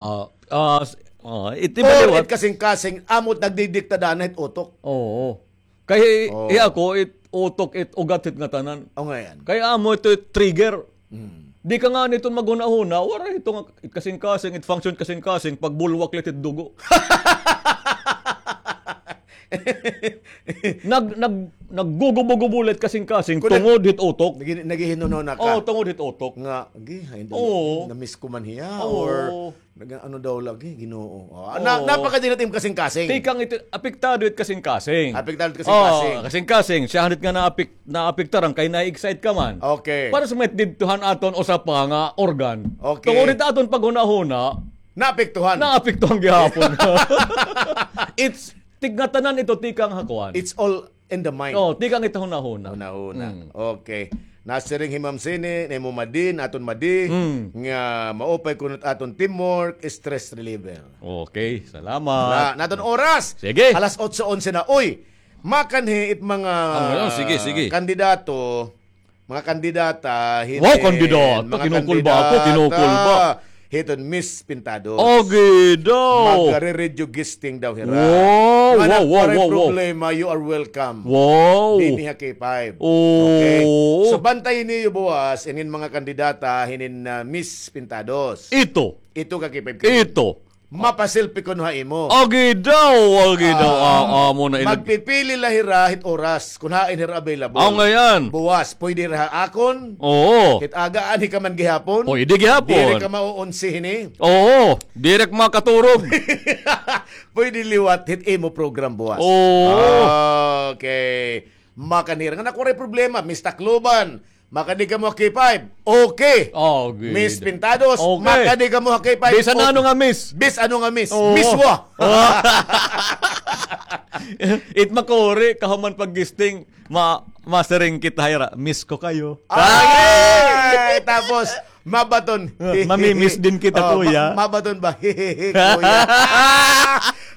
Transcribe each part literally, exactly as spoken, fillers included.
Ah, ah, s-, ah, it Or liwat. It kasingkasing, amo it nagdidikta dana hit utok. Oo. Kay, oh, hi ako, it utok, it ugat hit ngatanan. O, ngay-an. Kay amo ito it trigger. Hmm. Di ka ngani iton maghunahuna, waray ito nga, it kasingkasing, it function kasingkasing, pagbulwak la it dugo. Nag-, nag-, naggugubo-gubo la it kasingkasing, tungod hit utok. Nag-, naghihinununa ka. Oo, tungod hit utok. Nga, agi, ay, na-miss ko man hiya, or nag-, ano daw lagi, Ginoo. Oh, na-, napakadinat im kasingkasing. Tikang ito, apektado it kasingkasing. Apektado it kasingkasing. Oh, kasingkasing, siya hanit nga naapek-, naapektaran kay na-excite ka man. Okay. Para sa may didto han aton usa pa nga organ. Okay. Tungod hit aton paghunahuna, naapektuhan. Naapektuhan gihapon. It's, tig-, ngatanan ito tikang ha kuan. It's all in the mind. Oh, tikang ito hunahuna. Hunahuna. Mm. Okay. Nasiring hi Ma'am Sini, ni mo Madi, aton Madi, mm, nga maupay kuno it aton teamwork, stress reliever. Okay, salamat. Wala na aton oras. Sige. Alas otso onse na. Uy, makanhi it mga, ah, sige, sige, kandidato, mga kandidata, wow, hini-, kandidata, mga kinukul ba ako? Kandidata. Kinukul ba? Hiton Miss Pintados. Agi daw. Magre-radio guesting daw hira. Wow, wow, wow, wow, wow. Nga waray problema, you are welcome. Wow. Dinhi ha K five. Oh. Okay. So, bantayi niyo buwas, inin mga kandidata, hinin, ah, Miss Pintados. Ito. Ito ka K five K. Ito. Mapaselfie kuno ha imo. Agi daw, agi daw. Ah, ah, amo na ina-, magpipili la hira hit oras kun hain hira available. Aw, ngay-an. Buwas, pwede hira ha akon. Oo. Hit aga, anhi ka man gihapon. Pwede gihapon. Diri ka mauunsi hini. Oo, diri ka makaturog. Pwede liwat hit imo program buwas. Oo. Okay. Makanhi hira nga waray problema, Miss Tacloban, makadi kamo ha K five. Okay. Oh, good. Miss Pintados, okay, makadi kamo ha K five. Bisan ano nga miss. Bis ano nga miss. Oo. Miss wa. It makuri, kahuman pag-guesting, ma-, masiring kita hira, "Miss ko kayo." Ay! Tapos, mabaton. Ah, mamimiss din kita, kuya. Ma-, mabaton ba? Kuya.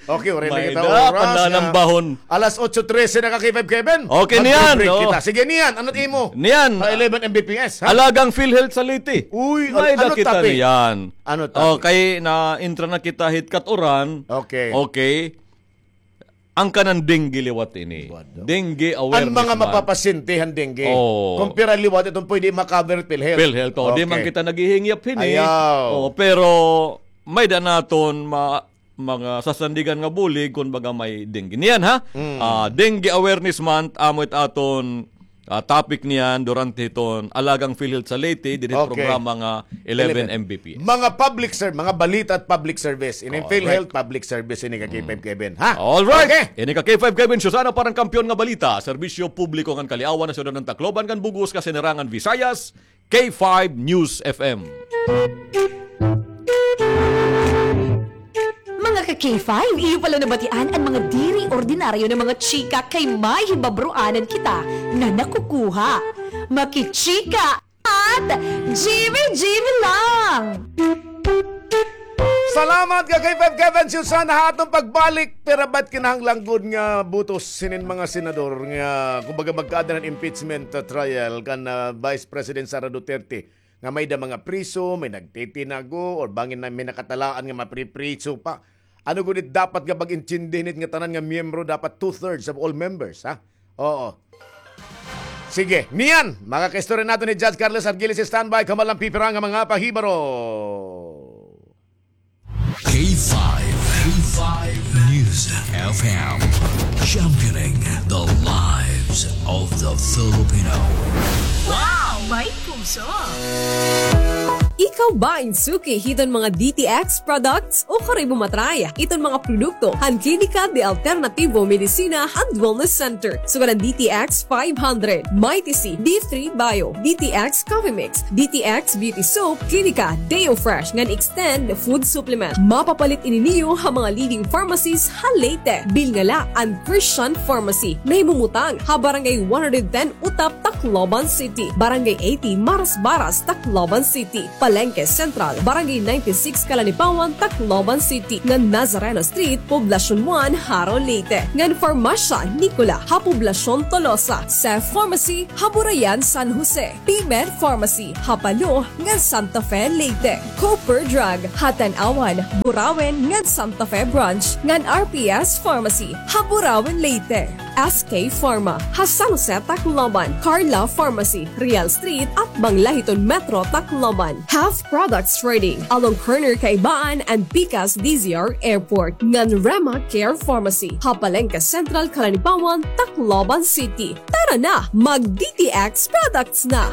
Okay, waray na kita oras. May da, pananambahon. Alas otso trese na ka, K five Kevin. Okay, niyan, mag-break kita. Sige, niyan, ano it imo? Niyan. Sa eleven M B P S, ha? Alagang PhilHealth sa Leyte. Uy, may da kita niyan. Ano topic? Okay, na-intra na kita hit kat-uran. Okay. Okay. An kanan dengue liwat ini. Dengue awareness month. An mga mapapasyente han dengue. Oo. Kumpara liwat iton pwede ma-cover PhilHealth. PhilHealth, oo. Di man kita naghihingyap hini. Ayaw. Oo, pero may da naton ma-, mga sasandigan nga bulig kun baga may dengue. Niyan, ha? Mm. Ah, Dengue Awareness Month, amo it aton ah, topic niyan durante hiton Alagang PhilHealth sa Leyte, dinhi programa nga eleven M B P S. Mga public ser-, mga balita at public service. Ini PhilHealth public service ini ka K five Kevin, ha? All right. Okay. Ini ka K five Kevin, Susana para han Kampiyon nga Balita, serbisyo publiko ngan kaliawan ha syudad han Tacloban ngan bug-os nga Sinirangan Visayas, K five News F M. Mga ka K five, iyo pala nabatian an mga diri ordinaryo nga mga chika kay may hibabroanan kita nga nakukuha. Makichika at G V G V lang! Salamat ka K five Kevin, Susana, ha aton pagbalik. Pira ba it kinahanglan gud nga butos hinin mga senador nga, kumbaga, magkaada han impeachment, uh, trial kan, uh, Vice President Sara Duterte? Nga may da mga priso, may nagtitinago, or bangin na may nakatalaan nga mapripriso pa. Ano gud it dapat nga pag-intindi hini nga tanan nga miyembro dapat two-thirds of all members, ha? Oo. Sige, niyan, makakaistorya naton ni Judge Carlos Argiles, standby, kamalang pipira nga mga pahibaro. K five, K five News F M, championing the lives of the Filipino. Wow, may puso! Ikaw ba in suki hiton mga D T X products o kari mo matry iton mga produkto han Klinika de Alternativo Medicina and Wellness Center? Sugad an D T X five hundred, Mighty C, D three Bio, D T X Coffee Mix, D T X Beauty Soap, Klinika Deo Fresh ngan Extend Food Supplement. Mapapalit ini niyo ha mga leading pharmacies ha Leyte. Bilnga la an Christian Pharmacy, nahimumutang ha Barangay one hundred ten Utap, Tacloban City, Barangay eighty, Marasbaras, Tacloban City. Palengke Central, Barangay ninety-six, Calanipawan, Tacloban City, ngan Nazareno Street, Poblacion one, Jaro, Leyte, ngan Farmacia Nicola ha Poblacion Tolosa, Sef Pharmacy ha Burayan, San Jose, P-Med Pharmacy ha Palo ngan Santa Fe, Leyte, Cooper Drug ha Tanauan, Burauen ngan Santa Fe Branch, ngan R P S Pharmacy ha Burauen, Leyte, S K Pharma ha San Jose, Tacloban, Carla Pharmacy, Real Street, atbang la hiton Metro Tacloban. Health Products Trading, along corner Kaibaan and Pikas D Z R Airport, ngan Rema Care Pharmacy ha Palengke Central, Calanipawan, Tacloban City. Tara na, mag D T X products na!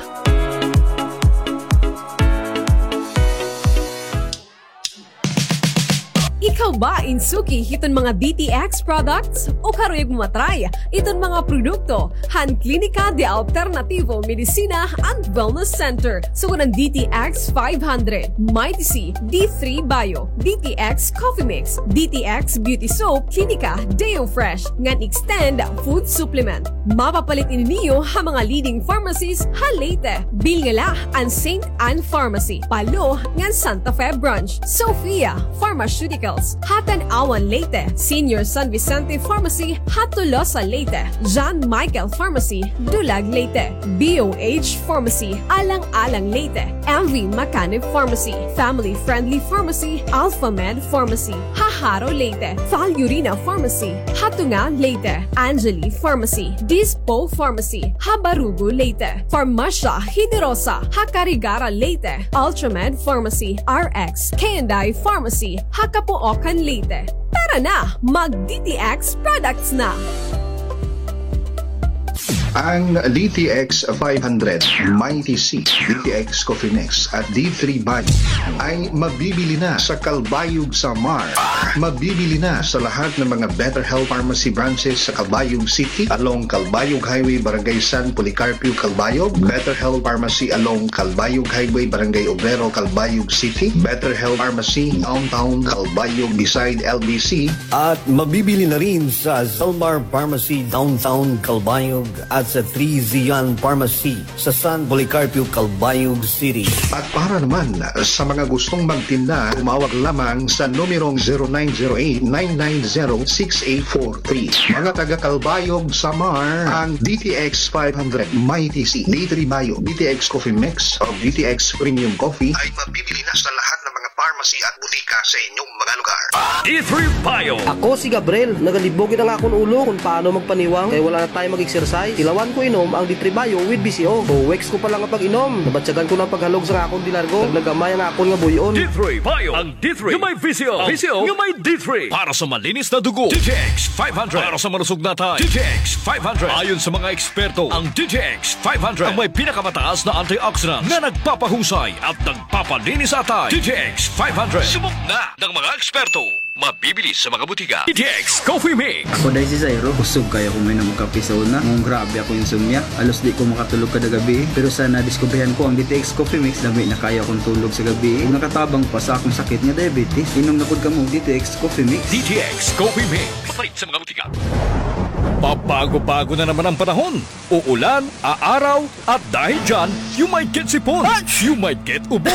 Ikaw ba in suki hiton mga D T X products? O karuyag mo ma-try iton mga produkto han Klinika de Alternativo Medicina and Wellness Center? Sugad han D T X five hundred, Mighty C, D three Bio, D T X Coffee Mix, D T X Beauty Soap, Klinika Deo Fresh, ngan Extend Food Supplement. Mapapalit ini niyo ha mga leading pharmacies ha Leyte. Bilngala an Saint Ann Pharmacy, Palo, ngan Santa Fe Branch. Sophia Pharmaceuticals ha Tanauan, Leyte. Senior San Vicente Pharmacy ha Tolosa, Leyte. John Michael Pharmacy, Dulag, Leyte. B O H Pharmacy, Alang-alang, Leyte. M V Macanib Pharmacy, Family Friendly Pharmacy, Alpha Med Pharmacy ha Jaro, Leyte. Valurina Pharmacy ha Tunga, Leyte. Angeli Pharmacy, Dispo Pharmacy ha Barugo, Leyte. Farmacia Generosa ha Carigara, Leyte. Ultramed Pharmacy, R X K and I Pharmacy ha Capoocan, Leyte. Tara na, mag D T X products na! Ang D T X five hundred, Mighty C, D T X Coffee Mix at D three Bio ay mabibili na sa Calbayog, Samar. Mabibili na sa lahat ng mga Better Health Pharmacy branches sa Calbayog City, along Calbayog Highway, Barangay San Policarpio, Calbayog. Better Health Pharmacy along Calbayog Highway, Barangay Obrero, Calbayog City. Better Health Pharmacy Downtown Calbayog beside L B C. At mabibili na rin sa Zalmar Pharmacy Downtown Calbayog at sa Three Zion Pharmacy sa San Policarpio, Calbayog City. At para naman sa mga gustong magtinda, tumawag lamang sa numerong zero nine zero eight, nine nine zero, six eight four three. Mga taga Calbayog, Samar, ang D T X five hundred, Mighty C, D three Bio, D T X Coffee Mix, o D T X Premium Coffee ay mabibili na sa lahat ng mga pharmacy at butika sa inyong mga lugar. D three Bio. Ako si Gabriel. Nagalibog gid an akon ulo kon paano magpaniwang kay wala na time mag-exercise. Tilawan ko inom ang D three Bio with V C O. Two weeks ko pa la nga pag-inom, nabatyagan ko na an paghalog sa akon dilargo. Naglagamay an akon nga buy-on. D three Bio. Ang D three nga may V C O. V C O nga may D three. Para sa malinis na dugo, D T X five hundred. Para sa malusog na atay, D T X five hundred. Ayon sa mga eksperto, ang D T X five hundred ang may pinakamataas na antioxidant na nagpapahusay at nagpapalinis sa atay. D T X five hundred. Subok na ng mga eksperto. Mabibili sa mga butika. D T X Coffee Mix. Ako diay si Zairo. Kusog kaayo ako moinom og kape sa una. Ngan grabe akon insomnia. Halos di ko makatulog kada gabii. Pero sa nadiskubrihan ko ang D T X Coffee Mix, lami na kaayo akon tulog sa gabii. Ug nakatabang pa sa akon sakit nga diabetes. Inom na pod kamo og D T X Coffee Mix. D T X Coffee Mix. Mapalit sa mga butika. Pabago-bago na naman ang panahon. Uulan, aaraw, at dahil dyan, you might get sipon, you might get ubo,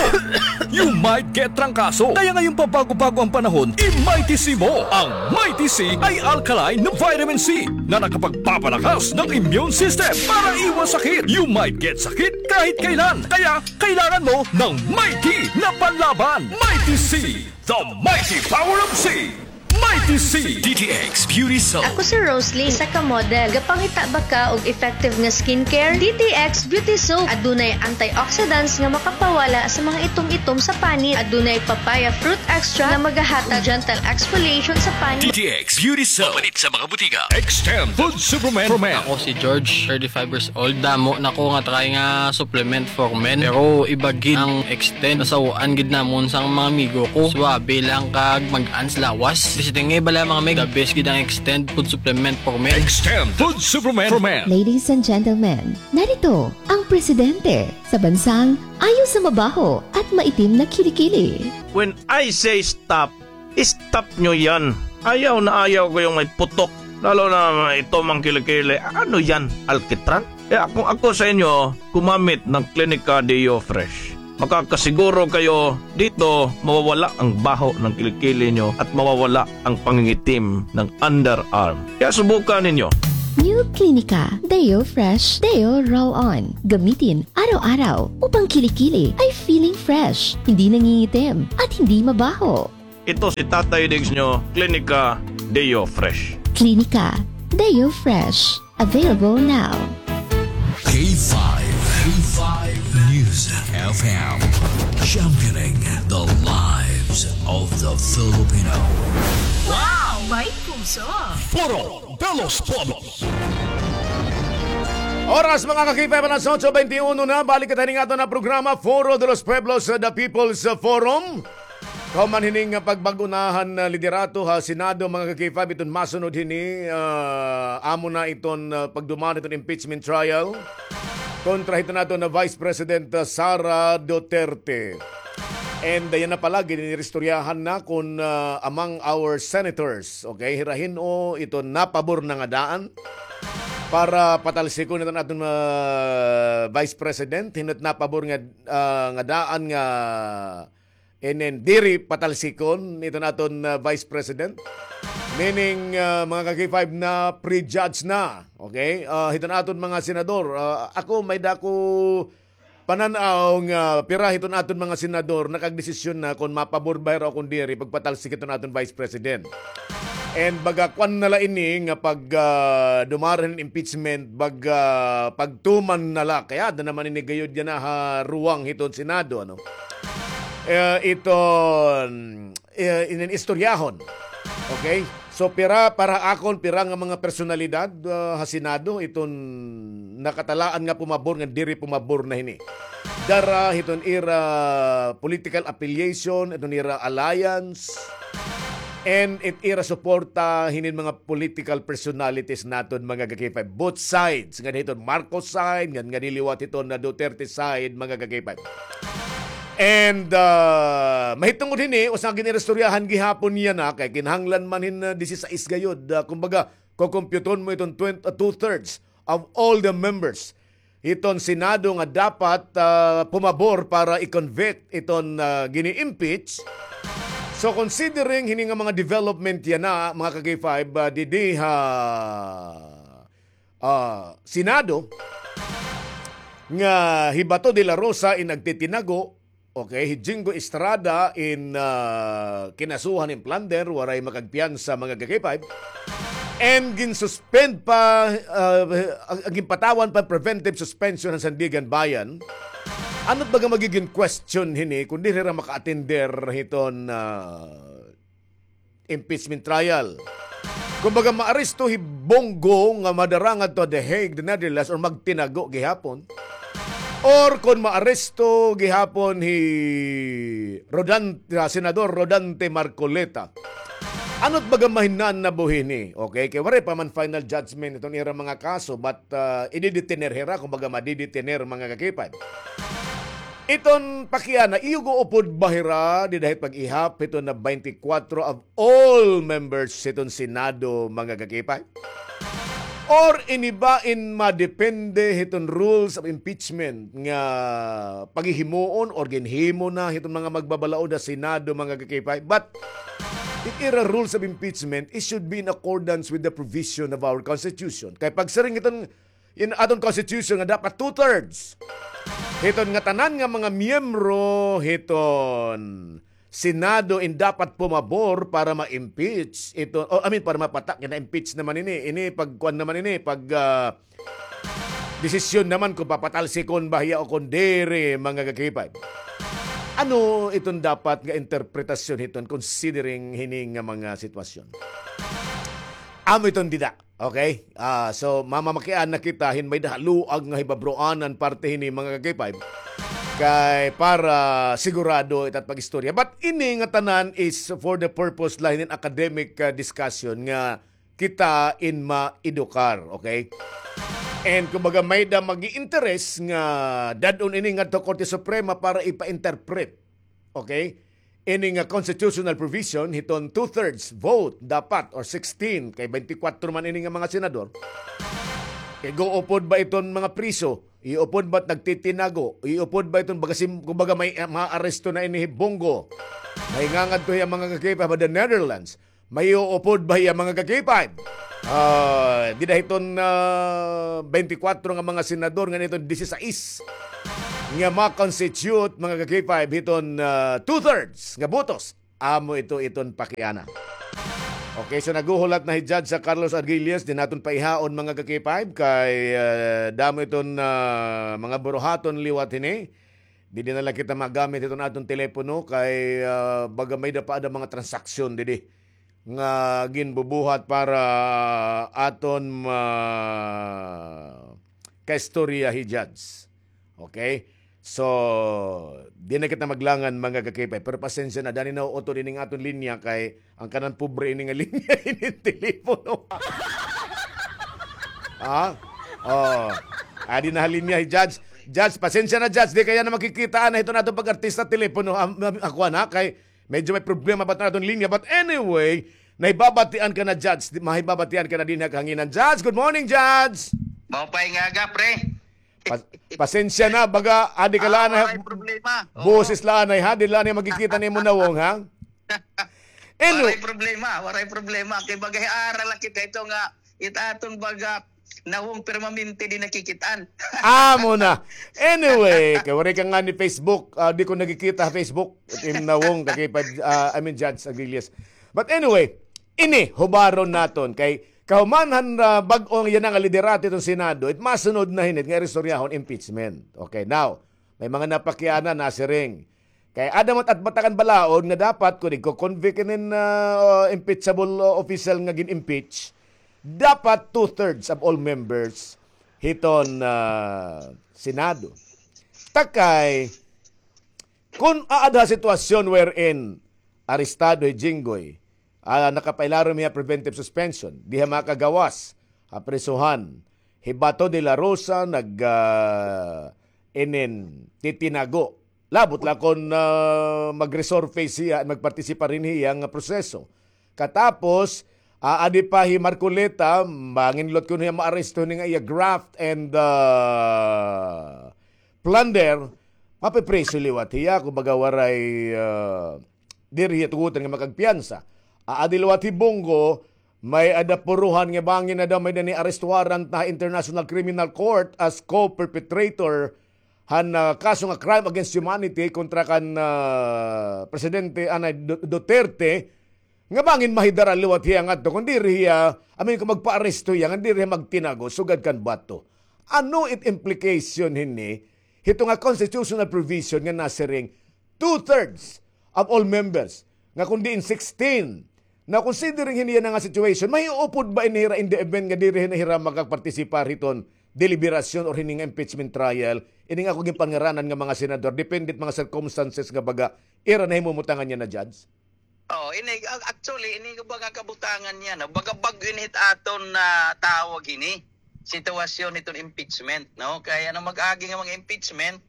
you might get trangkaso. Kaya ngayong pabago-bago ang panahon, i-Mighty C mo, ang Mighty C ay alkaline na vitamin C na nakapagpapalakas ng immune system para iwas sakit. You might get sakit kahit kailan. Kaya kailangan mo ng Mighty na panlaban. Mighty C, the mighty power of C. Mighty C. D T X Beauty Soap. Ako si Rosalie, isa ka model. Gapangita ba ka og effective nga skincare? D T X Beauty Soap. Adunay antioxidants nga makapawala sa mga itom-itom sa panit. Adunay papaya fruit extract nga magahatag gentle exfoliation sa panit. D T X Beauty Soap. Mapalit sa mga butika. Extend Food Supplement for Men. Ako si George, thirty-five years old. Damo na ko nga try nga supplement for men. Pero iba gid ang Extend. Nasaw-an gid namon sang mga amigo ko. Suabe lang kag mag-ans lawas. Basta nga bala mga meg, the best gid ang Extend food supplement for men. Extend food supplement for men. Ladies and gentlemen, narito ang presidente sa bansang ayaw sa mabaho at maitim na kilikili. When I say stop, stop nyo yan. Ayaw na ayaw ko yung may putok. Lalo na ito mang kilikili. Ano yan? Alkitran? Kaya kung ako sa inyo, gumamit ng Klinika Deo Fresh. Makakasiguro kayo dito, mawawala ang baho ng kilikili nyo at mawawala ang pangingitim ng underarm. Kaya subukan ninyo. New Clinica Deo Fresh Deo Roll-On. Gamitin araw-araw upang kilikili ay feeling fresh, hindi nangingitim, at hindi mabaho. Ito si Tatay Diggs nyo, Klinika Deo Fresh. Klinika Deo Fresh. Available now. K five, K five News F M. Championing the lives of the Filipino. Wow! May puso! Foro de los Pueblos. Oras, mga ka-K five, alas otso bente uno na. Balik kita hini nga aton nga programa, Foro de los Pueblos, uh, The People's Forum. Kahuman hini nga pagbag-unahan nga liderato ha Senado, mga ka-K five, iton masunod hini, ah, amo na iton, ah, pagduman iton impeachment trial kontra hiton aton nga Vice President, ah, Sara Duterte. And, ah, yana pala, giniristoryahan na kon, ah, among our senators, okay, hira hin-o iton napabor na nga daan para patalsikon iton aton, ah, Vice President, hin-o it napabor nga, ah, nga daan nga inin diri patalsikon iton aton, ah, Vice President. Meaning, ah, mga ka-K five, na prejudge na. Okay? Ah, hiton aton mga senador, ah, ako may-ada ko panan-aw nga pira hiton aton mga senador nakagdesisyon na kon mapabor ba hira o kon diri pagpatalsik hiton aton Vice President. And baga kuan na la ini nga pag, ah, dumara hin impeachment, baga pagtuman na la. Kay aada naman ini gayod yana ha ruwang hiton Senado, ano? Eh, iton, eh, inin istoryahon. Okay? So, pira para akon, pira nga mga personalidad, ah, ha Senado iton nakatalaan nga pumabor ngan diri pumabor na hini. Dara hiton ira political affiliation, iton ira alliance, and it ira suporta hinin mga political personalities naton, mga ka-K five. Both sides, ngan hiton Marcos side, ngan, ngan liwat hiton na Duterte side, mga ka-K five. And, ah, mahitungod hini, usa nga giniristoryahan gihapon yana, kay kinahanglan man hin, ah, disisais gayod, ah, kumbaga, kukumpyuton mo iton twenty, ah, two-thirds of all the members hiton Senado nga dapat, ah, pumabor para i-convict iton, ah, gini-impeach. So, considering hini nga mga development yana, mga ka-K five, ah, didi ha, ah, Senado, nga hi Bato de la Rosa in nagtitinago, okay, hi Jingo Estrada in, ah, kinasuhan hin plunder, waray makagpiyansa, mga ka-K five. And ginsuspend pa, ah, ag-, ginpatawan pa preventive suspension han Sandiganbayan. Ano it baga magigin question hini kon diri hira maka-attender hiton, ah, impeachment trial? Kumbaga, maaresto hi Bongo nga madara ngadto ha The Hague, the Netherlands, or magtinago gihapon? Or kon maaresto gihapon hi Rodan-, ah, Senador Rodante Marcoleta, ano it baga mahinaan na buhi hini? Okay, kay waray pa man final judgment iton ira mga kaso, but, ah, ididetener hira, kumbaga, madidetener, mga ka-K five. Iton pakiana, iyo guupod ba hira dida hit pag-ihap hiton na twenty-four of all members hiton Senado, mga ka-K five? Or ini ba in madepende hiton rules of impeachment nga paghihimuon or ginhimo na hiton mga magbabalaod ha Senado, mga ka-K five? But it ira rules of impeachment, it should be in accordance with the provision of our Constitution. Kay pagsiring hiton in aton Constitution nga dapat two-thirds hiton ngatanan nga mga miyembro hiton Senado in dapat pumabor para ma-impeach iton, o, I mean, para mapatak, na-impeach naman ini, ini pagkuan naman ini, pag, ah, desisyon naman kon papatalsikon ba hiya o kon diri, mga ka-K five. Ano iton dapat nga interpretasyon hiton considering hini nga mga sitwasyon? Amo iton dida. Okay? Ah, so, mamamakian na kita hin may-ada ha luag nga hibabroanan parte hini, mga ka-K five. Kay para sigurado it at pag-istorya. But ini nga tanan is for the purpose la hinin academic, ah, discussion nga kita in maedukar, okay? And kumbaga may-ada mag-i-interes nga dad-on ini ngadto Korte Suprema para ipa-interpret. Okay? Ini nga constitutional provision hiton two-thirds vote dapat, or sixteen, kay twenty-four man ini nga mga senador. Kay guupod ba iton mga priso? Iupod ba't nagtitinago? Iupod ba iton baga sim-, kumbaga may, ah, maaresto na ini hi Bong Go? May ngangadto hiya, mga ka-K five, ha the Netherlands. May iuupod ba hiya, mga ka-K five? Ah, dida hiton, ah, twenty-four nga mga senador ngan iton disisais nga ma-constitute, mga ka-K five, hiton, ah, two-thirds nga botos. Amo ito iton pakiana. Okay, so naghuhulat na hi Judge sa Carlos Arguelles, di naton paihaon, mga ka-K five, kay, ah, damo iton, ah, mga buruhaton liwat hini. Didi na la kita magamit iton aton telepono kay, ah, baga may-ada pa ada mga transaksyon didi nga ginbubuhat para aton ma-, kaistorya hi Judge. Okay? So, di na kita maglangan, mga ka-K five. Pero pasensya na, dani na utod ining aton linya kay an kanan pobre ini nga linya ini telepono. Ha? Oh. Adi na ha linya hi Judge. Judge, pasensya na, Judge. Di kaya na makikita na hiton aton pag-artista telepono. Am-, am-, ako na kay medyo may problema ba iton aton linya. But anyway, nahibabatian ka na, Judge. Di, mahibabatian ka na dinhi ha kahanginan. Judge, good morning, Judge. Maupay nga aga, pre. Pas-, pasensya na, baga, adi ka la anay, waray problema. Oo. Boses la anay, ha? Di la anay makikita nimo nawong, ha? Anyway. Waray problema, waray problema. Kay baga, aral la kita ito nga, it aton baga, nawong permanente di nakikit-an. Amo na. Anyway, kay waray ka ngani Facebook, ah, di ko nakikita ha Facebook, it im nawong, ka-K five, ah, I mean, Judge Arguelles. But anyway, ini, hubaron naton, kay kahuman han, ah, bag-o yana nga liderato hiton Senado, it masunod na hini it nga iristoryahon, impeachment. Okay, now, may mga napakiana, nasiring. Kay ada man it atbata kan balaod nga dapat kon igko-convict inin, ah, impeachable, ah, official nga gin-impeach, dapat two-thirds of all members hiton, ah, Senado. Ta kay, kon aada ha sitwasyon wherein arestado hi Jinggoy, ah, nakapailarom hiya preventive suspension, diha makagawas ha prisuhan. Hi Bato de la Rosa nag, ah, inin titinago. Labot la kon, ah, mag-resurface hiya, magpartisipar hini hiya nga proseso. Katapos, ah, adi pa hi Marcoleta, bangin liwat kon hiya maaresto hini nga iya graft and, ah, plunder, mapipriso liwat hiya, kumbaga waray, ah, diri hiya tugutan nga makagpiyansa. Aadi liwat hi Bong Go, may-ada puruhan nga bangin na daw may-ada ni arrest warrant na International Criminal Court as co-perpetrator han, ah, kaso nga crime against humanity kontra kan, ah, Presidente anay Du-, Duterte, nga bangin mahidara liwat hiya ngadto, kon diri hiya, I mean, kon magpaaresto hiya, nga diri hiya magtinago sugad kan Bato. Ano it implication hini hito nga constitutional provision nga nasiring two-thirds of all members, nga kon diin sixteen, na considering hini yana nga situation, mahiupod ba ini hira in the event nga diri na hira makagpartisipar hiton deliberasyon or hini nga impeachment trial, ini nga ako ginpangaranan nga mga senador, depende it mga circumstances nga baga ira nahimumutangan yana, Judge? Oh, ini, ac-, actually, ini nga baga kabutangan yana, baga bag-o ini hit aton nga tawag hini, sitwasyon hiton impeachment, no? Kay ano mag-agi nga mga impeachment,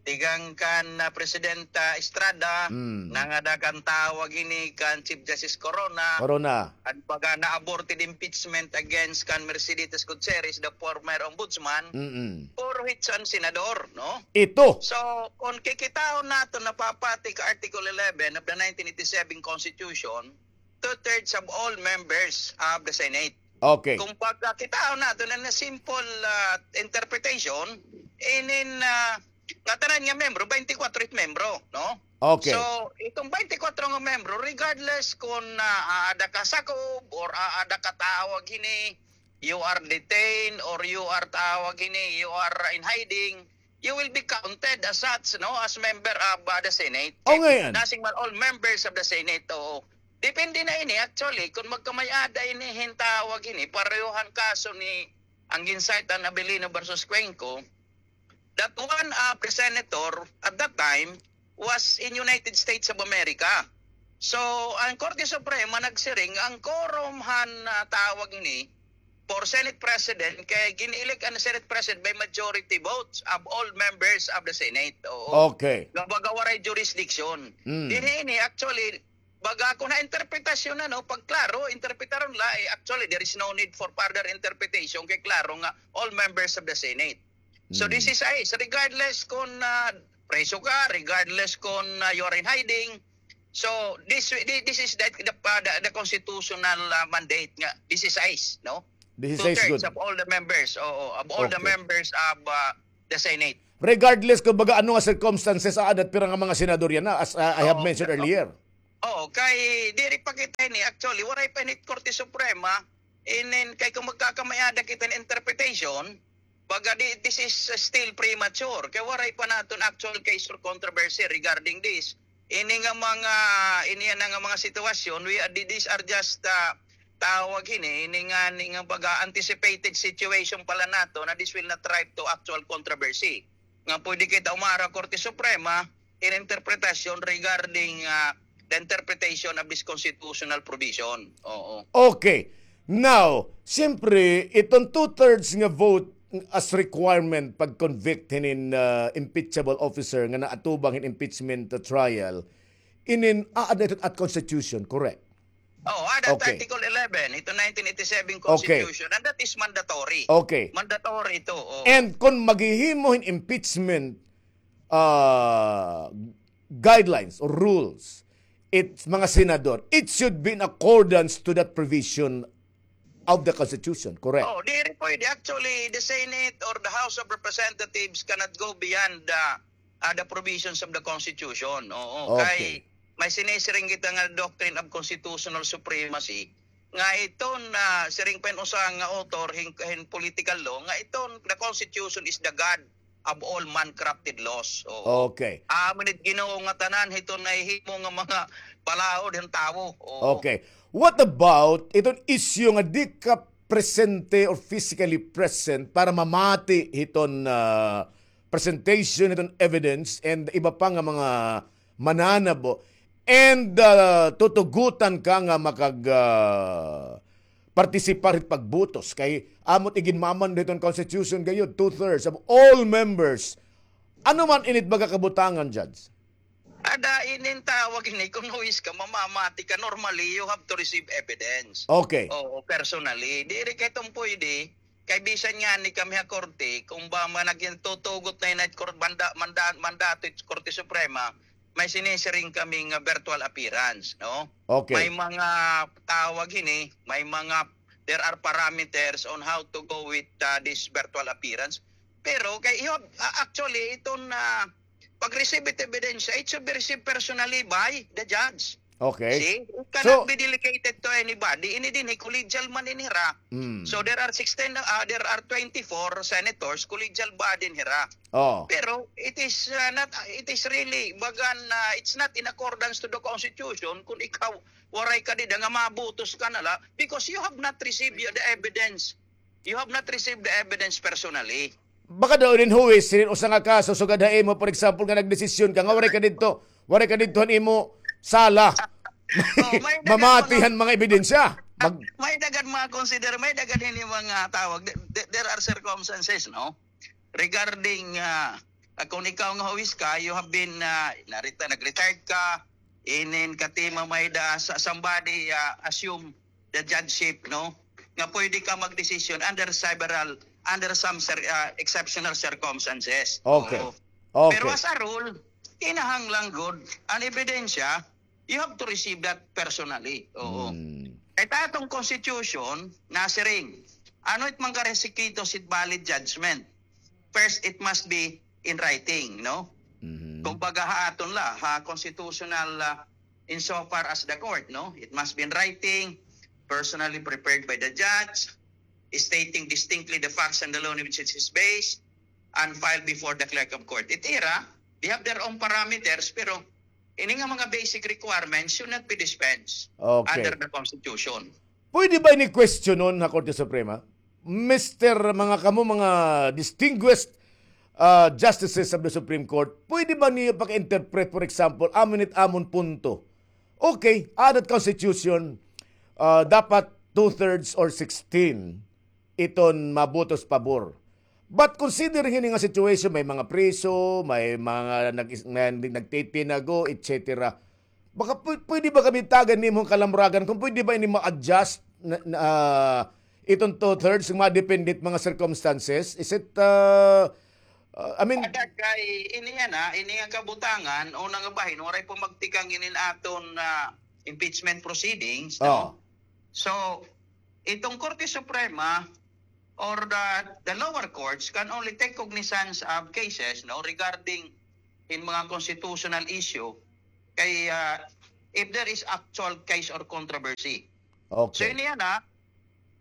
tikang kan, ah, Presidenta Estrada, nangada kan tawag hini kan Chief Justice Corona, Corona. An baga na-aborted impeachment against kan Merceditas Gutierrez, the former ombudsman, puro hit an senador, no? Ito. So, kon kikitaon naton napapati ka Article eleven of the nineteen eighty-seven Constitution, two-thirds of all members of the Senate. Okay. Kon pagkakitaon naton na simple, ah, interpretation, inin, ah, ngatanan nga membro, twenty-four it membro, no? Okay. So, iton twenty-four nga membro, regardless kon, ah, aada ka sakob or aada ka tawag hini, you are detained or you are tawag hini, you are in hiding, you will be counted as such, no, as member of, uh, the Senate. O, ngay-an. Nasing man all members of the Senate, oo. Depende na ini, actually, kon magkamay-ada ini hin tawag ini, pareho han kaso ni, an gin-cite an Abilino versus Cuenco, that one of the senator at that time was in United States of America. So, an Korte Suprema nagsiring, an quorum han, ah, tawag ini, for Senate President, kay gin-elect an Senate President by majority votes of all members of the Senate. Oo. Okay. Nga baga waray jurisdiction. Mm. Dinhi ini, actually, baga kon ha interpretasyon na, no, pagklaro, interpretaron la, eh, actually, there is no need for further interpretation, kay klaro nga all members of the Senate. So, this is ice. Regardless kung ah, preso ka, regardless kung ah, you are in hiding. So, this this is the the, the, the constitutional ah, mandate nga this is ice, no? This is ice. Two-thirds good. Of all the members, oo, of all the members of ah, the Senate. Regardless kung baga ano nga circumstances, ah, that pira nga mga senador yan, ah, as ah, I have mentioned earlier. Oo, kay diri pa kita ini, actually, waray pa ini Korte Suprema, inin, kay kung magkakamay-ada kita hin interpretation, baga di, this is uh, still premature. Kay waray pa naton actual case or controversy regarding this. Ini nga mga, ini nga mga sitwasyon, we are, these are just, uh, tawag ini, ini nga, ini nga baga anticipated situation pala nato na this will not ripe to actual controversy. Nga pwede kita umara Korte Suprema, in interpretation regarding ah, the interpretation of this constitutional provision. Oo. Okay. Now, siyempre, itong two-thirds nga vote as requirement pag-convict hinin ah, impeachable officer nga naatubang hin impeachment trial, inin aada ito at constitution, correct? Oo, aada Article eleven, ito nineteen eighty-seven Constitution, and that is mandatory. Okay. Mandatory ito. Oo. And kung maghihimo hin impeachment ah, guidelines or rules, it's mga senador, it should be in accordance to that provision of the Constitution, correct? Oh, diri pwede. Actually, the Senate or the House of Representatives cannot go beyond the, ah, the provisions of the Constitution. Oo, okay. Kay may sinisiring kita nga doctrine of constitutional supremacy, nga iton, ah, siring pa hin usa nga author hin, hin political law, nga iton, the Constitution is the God of all man-crafted laws. Oo. Okay. Amo ni Ginoo nga tanan hiton nahihimo nga mga balaod hin tawo. Oo. Okay. What about iton issue nga di ka presente or physically present para mamati hiton ah, presentation hiton evidence and iba pa nga mga mananabo and ah, tutugutan ka nga makag ah, partisipar hit pagbutos kay amo it iginmamando hiton constitution gayod, two-thirds of all members. Ano man init baga kabutangan, Judge? Ada inin tawag ini, kung huwis ka, mamamati ka, normally you have to receive evidence. Okay. Oo, personally. Diri kay iton pwede, kay bisan ngani kami ha korte, kung ba man nagtutugot na ini it kor-, manda-, manda-, mandato it Korte Suprema, may sinisiring kami nga virtual appearance, no? Okay. May mga tawag ini, may mga, there are parameters on how to go with uh, this virtual appearance. Pero kay, you have, uh, actually, iton ah, pag-receive it ebidensya, it should be received personally by the judge. Okay. See? It cannot be delegated to anybody. Ini dinhi, collegial man ini hira. Mm. So there are sixteen, ah, there are twenty-four senators, collegial body ini hira. Oh. Pero it is ah, not, it is really, bagan, ah, it's not in accordance to the Constitution kung ikaw waray ka dida nga mabutos ka na la because you have not received the evidence. You have not received the evidence personally. Baka daw inin huwis, inin usa nga kaso, sugad ha imo, for example, nga nagdesisyon ka, nga waray ka didto, waray ka didto han imo sala. Oh, may dagan Mamati han mga ebidensya. Mag- May dagan mga consider, may dagan hini mga tawag. Th-, th-, there are circumstances, no? Regarding, ah, ah, kung ikaw nga huwis ka, you have been, ah, narita-, nag-retired ka, inin katima may da sa somebody ah, assume the judgeship, no? Nga pwede ka magdesisyon under several, under some cir-, ah, exceptional circumstances. Okay. Oo. Okay. Pero as a rule, kinahanglan gud an ebidensya, you have to receive that personally. Oo. Hmm. Kay it aton constitution, nasiring, ano it mga requisitos it valid judgment? First, it must be in writing, no? Mhm. Kumbaga ha aton la, ha constitutional, ah, insofar as the court, no? It must be in writing, personally prepared by the judge, stating distinctly the facts and the law on which it is based, and filed before the clerk of court. It ira, they have their own parameters, pero ini nga mga basic requirements should not be dispensed Okay. under the Constitution. Pwede ba ini questionon ha Korte Suprema? Mister, mga kamo, mga distinguished ah, justices of the Supreme Court, pwede ba niyo paki-interpret, for example, amin it amon punto? Okay, aada it constitution, ah, dapat two-thirds or sixteen iton mabutos pabor. But considering hini nga situation, may mga preso, may mga nag-, na-, nagtitinago, et cetera. Baka pw-, pwede ba kami tagan nimo kalamragan kung pwede ba ini ma-adjust na, na, ah, iton two-thirds nga madepende it mga circumstances? Is it, ah, Uh, I mean, ada kay ini yana, ini nga kabutangan, una nga bahin, waray pa magtikang inin aton, ah, impeachment proceedings, no? Oh. So, itong Korte Suprema or the, the lower courts can only take cognizance of cases, no, regarding in mga constitutional issue kay, ah, if there is actual case or controversy. Okay. So, ini yana,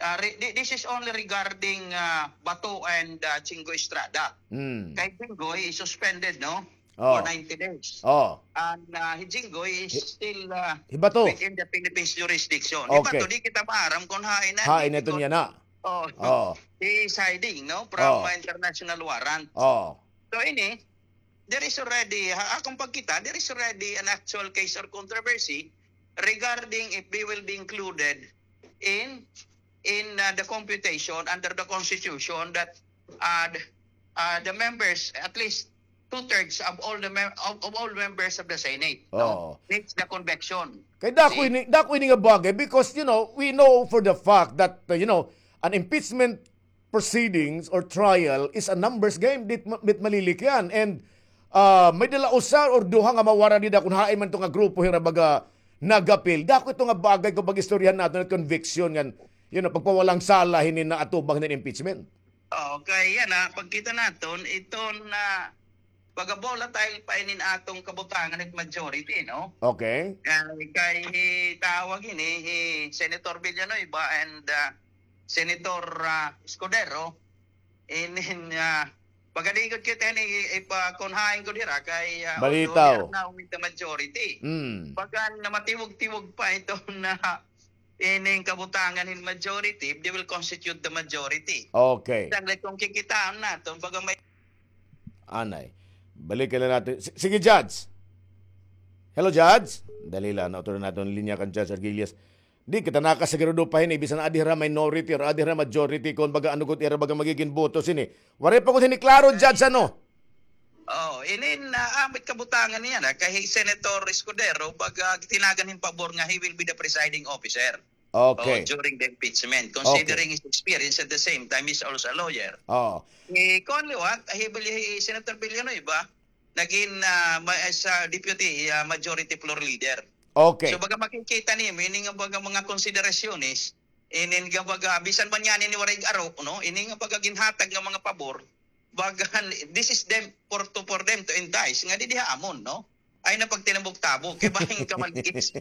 ah, re-, thi-, this is only regarding, ah, Bato and, ah, Jinggoy Estrada. Mm. Kay Jinggoy is suspended, no? Oh. For ninety days. Oh. And, ah, hi Jinggoy is still, ah, hi Bato within the Philippines jurisdiction. Okay. Hi Bato, di kita maaram kung hain na, hain na iton yana. Oh. Oh. He is hiding, no? From, oh, ah, international warrant. Oh. So, ini, there is already, ha, akong pagkita, there is already an actual case or controversy regarding if they will be included in, in, uh, the computation under the Constitution that, uh, the, uh, the members, at least two-thirds of all the mem-, of, of all members of the Senate, no, needs the conviction. Kay dako ini, dako ini nga bagay because, you know, we know for the fact that, uh, you know, an impeachment proceedings or trial is a numbers game. Dit ma-, dit malilikyan. And, ah, may dala usa or duha nga mawara dida kun hain man to nga grupo hira baga nagapil. Dako ito nga bagay kung pag-istoryahan naton nga conviction ngan, you know, pagpawalang sala hini naatubang hini impeachment. Okay, yana, pagkita naton, ito na baga volatile pa inin atong kabutangan it majority, no? Okay. Kay, kay hi tawag ini, hi Senator Villanueva and, ah, Senator, ah, Escudero, inin, ah, pagadigot kita ini, ipa, kun hain gud hira kay, ah, although they are now with the majority. Mm. Baga namatiwog-tiwog pa ito na ining kabutangan hin majority, if they will constitute the majority. Okay. Sanglit kung kikitaan naton, baga may Anay. Balikan na naton. S-, sige, Judge. Hello, Judge. Dali la, nautro na naton linya kan Judge Arguelles. Di kita nakasigurado pa hini, bisan adi hira minority or adi hira majority, kun baga ano gud ira baga magigin boto sini. Waray pa gud hini klaro, Judge, ano? Oh, inin, ah, ambit kabutangan niya na, kay Senator Escudero, baga tinagan hin pabor nga he will be the presiding officer. Okay. Oh, during the impeachment, considering his experience at the same time, he's also a lawyer. Oh. Eh, kuan liwat, hi Bil-, hi Senator Villanueva, nagin, ah, ma-, as a deputy, ah, majority floor leader. Okay. So, baga makikita niyo, meaning nga baga mga konsiderasyones, inin nga baga, bisan man niyan ini waray aro, no? Ini nga baga ginhatag nga mga pabor, baga, this is them, for to, for them to entice, nga didi ha amon, no? Ay na pagtinabok-tabok, kay bahin ka maligis.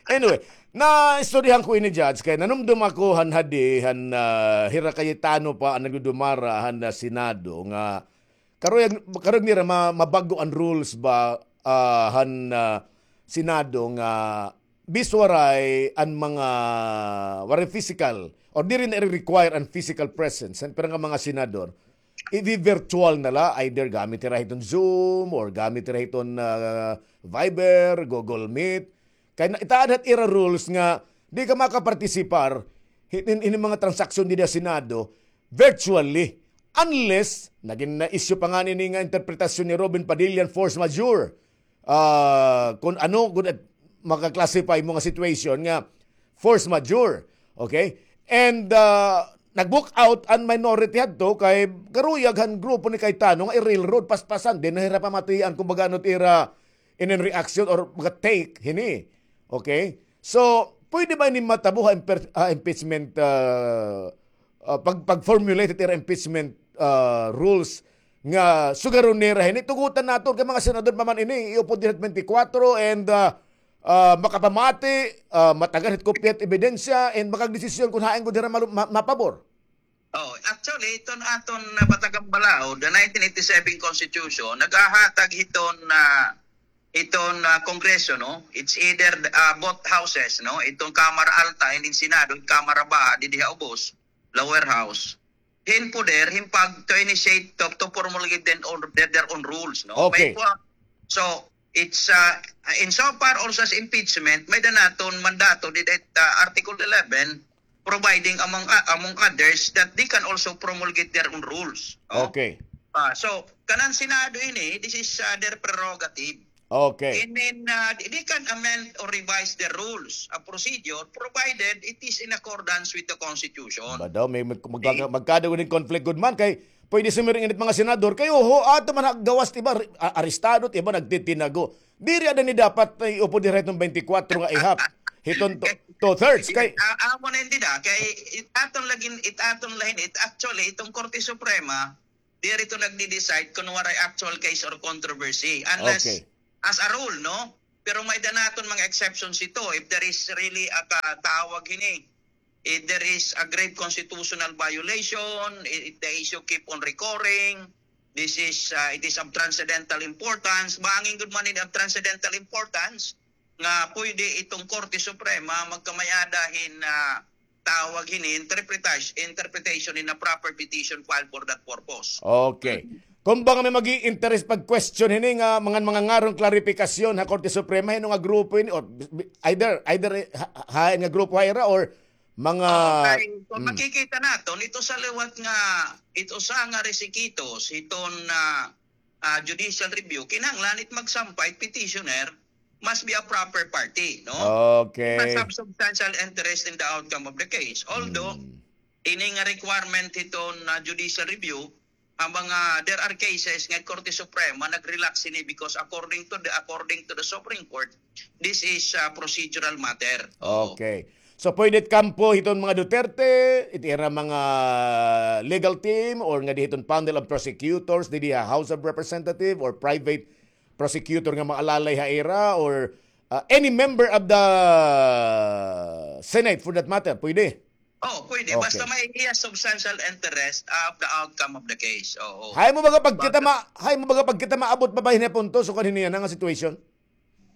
Anyway, naistoryahan ko ini, Judge, kay nanumdom ako han hadi, han, ah, hira Cayetano pa an nagdudumara han, ah, Senado nga karuyag, karuyag nira ma-, mabag-o an rules ba, ah, han, ah, Senado nga bis waray an mga, waray physical, or diri na i-require an physical presence han pira nga mga senador, i-virtual na la, either gamit hira hiton Zoom or gamit hira hiton, ah, Viber, Google Meet. Kay na, itaad hat ira rules nga di ka makapartisipar hin, hin, hin mga transaksyon dida ha Senado virtually. Unless, nagin na issue pa ngani ini nga interpretasyon ni Robin Padilla, force majeure. Ah, kun ano gud it maka-classify mo nga situation nga force majeure. Okay? And, ah, nag-walk out an minority hadto kay karuyag han grupo ni Cayetano nga i-railroad, paspasan, di na hira pamatian kumbaga ano it ira inin reaction or mga take hini. Okay? So, pwede ba ini matabo ha imper-, ha impeachment, ah, ah, pag, pag-formulate it ira impeachment, ah, rules nga sugaron nira hini, tugotan naton kay mga senador pa man ini, iupod dida twenty-four and, ah, ah, makapamati, ah, matagan hit kopya hit ebidensya, and makagdesisyon kun hain gud hira malu-, ma-, mapabor. Oh, actually, iton aton, ah, Batagang Balaod, the nineteen eighty-seven Constitution, naghahatag hiton, ah, hiton, ah, Kongreso, no? It's either, ah, both houses, no? Iton Kamara Alta and in Senado, Kamara Baha, didi ha ubos, lower house. Hin poder, hin pag to initiate, to, to promulgate their own, their, their own rules, no? Okay. May po, so, it's, ah, insofar also as impeachment, may-ada naton mandato didi, ah, Article eleven, providing among, ah, among others that they can also promulgate their own rules. Oh. Okay. Ah, so, kanan Senado ini, this is, ah, their prerogative. Okay. And then, uh, they can amend or revise the rules of procedure provided it is in accordance with the Constitution. Ba daw, may mag-, magkaga-, magkada gud hin conflict gud man kay pwede sumiring init mga senador kay, oho, ato man ha gawas, iba, a-, arestado, iba nagtitinago. Diri ada ni dapat, eh, iupod diri hiton twenty-four nga ihap. Hiton two, two-thirds kay, ah, amo na hindi da, kay it aton lagin, it aton lahin, it actually, itong Korte Suprema, diri to nagdi-decide kung waray actual case or controversy. Unless, okay, as a rule, no? Pero may da naton mga exceptions ito. If there is really a ka-, tawag hini, if there is a grave constitutional violation, i-, if the issue keep on recurring, this is, uh, it is of transcendental importance. Bangin gud man ini of transcendental importance, nga pwede itong Korte Suprema magkamay-ada hin, ah, tawag hini, interpretation, interpretation in a proper petition filed for that purpose. Okay. Kung bangin may mag-i-interest pag-question hini nga mga, mga ngarong klarifikasyon ha Korte Suprema, hino nga grupo ini, or either, either ha, ha, nga grupo ha ira, or mga, oh, kay, kung, mm, makikita naton, ito sa liwat nga, ito sa nga resikitos, hiton, ah, ah, judicial review, kinahanglan it magsampay, petitioner, must be a proper party, no? Okay. Must have substantial interest in the outcome of the case. Although, mm, ini nga requirement hiton, ah, judicial review, ang mga, there are cases nga Korte Suprema nag-relax ini because according to the, according to the Supreme Court, this is a procedural matter. Oo. Okay. So, pwede it kampo hiton mga Duterte, it ira mga legal team, or ngadi hiton panel of prosecutors, didi ha House of Representative, or private prosecutor nga maalalay ha ira, or, uh, any member of the Senate for that matter, pwede? Oh, pwede. Okay. Basta may iya substantial interest of the outcome of the case. Oo. Hay mo baga pagkita ma-, hay mo baga pagkita maabot pa ba hini punto, so kan hini nga situation?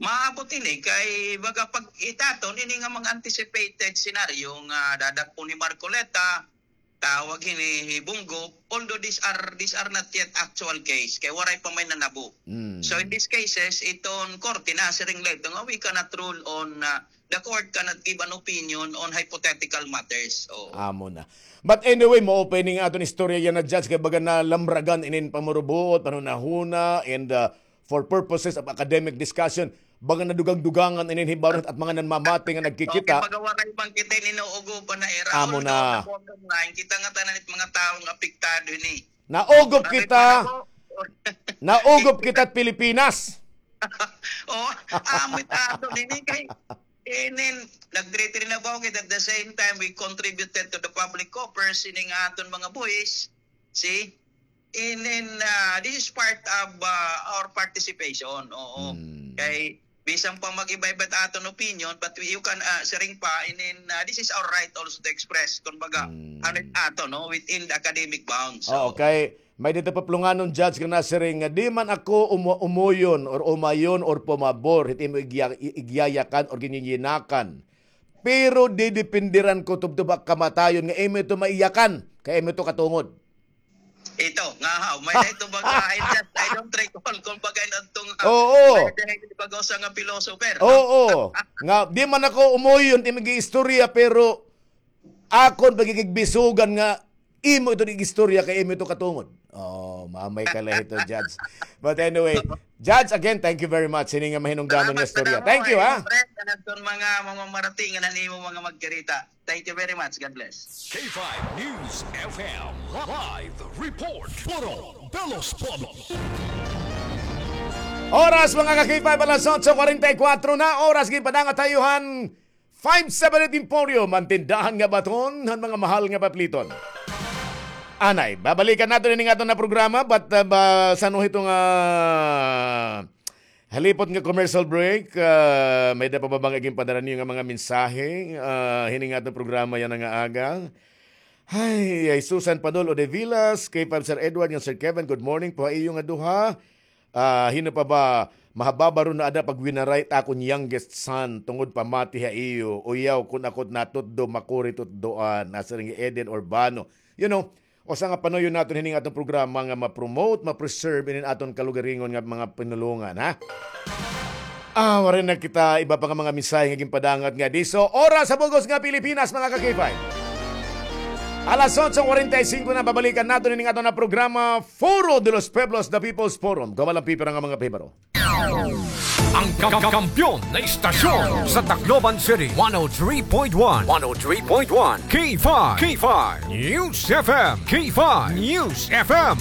Maabot ini kay baga pag-itaton ini nga mga anticipated scenario nga dadakpon ni Marcoleta, tawag hini hi Bong Go, although these are, these are not yet actual case, kay waray pa may nanabo. Mm. So in these cases, iton korte nasiring la ito nga we cannot rule on, uh, the court cannot give an opinion on hypothetical matters. Oo. Amo na. But anyway, mao pa ini nga aton istorya yana, Judge, kay baga nalamragan inin pamurubuot, panhunahuna, and, uh, for purposes of academic discussion, baga nadugang-dugangan inin hibaron at mga nanmamati nga nagkikita. Okay, baga waray man kita ini nauugob pa na ira. Amo na. Although, sa bottom line, kita nga tanan it mga tawo nga apektado hini. Nauugob kita. Nauugob kita at Pilipinas. Oh, amo it aton ini kay inin, nag-three three na ba? Okay, at the same time, we contributed to the public coffers, ini nga aton mga buhis. See? And then, ah, this is part of, ah, our participation. Oo. Hmm. Kay, bisan pa mag-iba-iba it aton opinion, but we, you can, ah, siring pa, and then, ah, this is our right also to express, kumbaga, hmm, ano it aton, no, within the academic bounds. Oo, so, kay may dito paplunganon, Judge, nga nasiring nga, "Di man ako umu-, umuyon or umayon or pumabor hit imo igya-, i-, igyayakan or ginyiyinakan. Pero didepindiran ko tubtob ha kamatayon nga imo ito maiyakan, kay imo ito katungod." Ito, nga haw, may na ito baga, I just, I don't recall kung baga in adtong, ah, oo, may na ito baga usa nga philosopher, no? Oo. Nga, di man ako umuyon, di mag-iistorya, pero akon pagigigbisugan nga imo ito igistorya kay imo ito katungod. Oh, mamay ka la hito, Judge. But anyway, Judge, again, thank you very much. Hini nga mahinungdanon nga istorya. Salamat, salamat. Thank you, ha? Siyempre, sa mga, mga marating nga nanimo mga magkarita. Thank you very much. God bless. K five News F M live report. Puro de los Pueblos. Oras, mga ka-K five, alas otso kwarenta y kuwatro na. Oras, ginpadangat ha iyo han five seven eight Emporium, an tindahan nga baton han mga mahal nga papliton. Anay, babalikan naton ini nga aton nga programa, but, uh, ba, san-o hito nga halipot nga commercial break, ah, may-ada pa ba nga ginpadara niyo nga mga mensahe, ah, hini nga aton programa yana nga aga? Hay, ay Susan Padol Odevilas, K five Sir Edward, nga Sir Kevin, good morning po ha iyo nga duha. Ah, hin-o pa ba, mahababa ron na ada pagwinaray it akon youngest son, tungod pamati ha iyo, uyaw, kun ako it natutdo, makuri tutdoan, nasiring hi Eden Urbano. You know, usa nga panuyo naton hini nga aton programa nga ma-promote, ma-preserve inin aton kalugaringon nga mga pinulongan, ha? Ah, waray na kita iba pa nga mga mensahe nga ginpadangat ngadi. So, oras sa bug-os nga Pilipinas, mga ka-K five. Alas otso kwarenta y singko na, babalikan naton ini nga aton nga programa, Foro de los Pueblos, The People's Forum. Kawalan pipira nga mga pahibaro. Ang kam- kampiyon na istasyon sa Tacloban City, one oh three point one, one oh three point one, K five, K five, News F M, K five, News F M.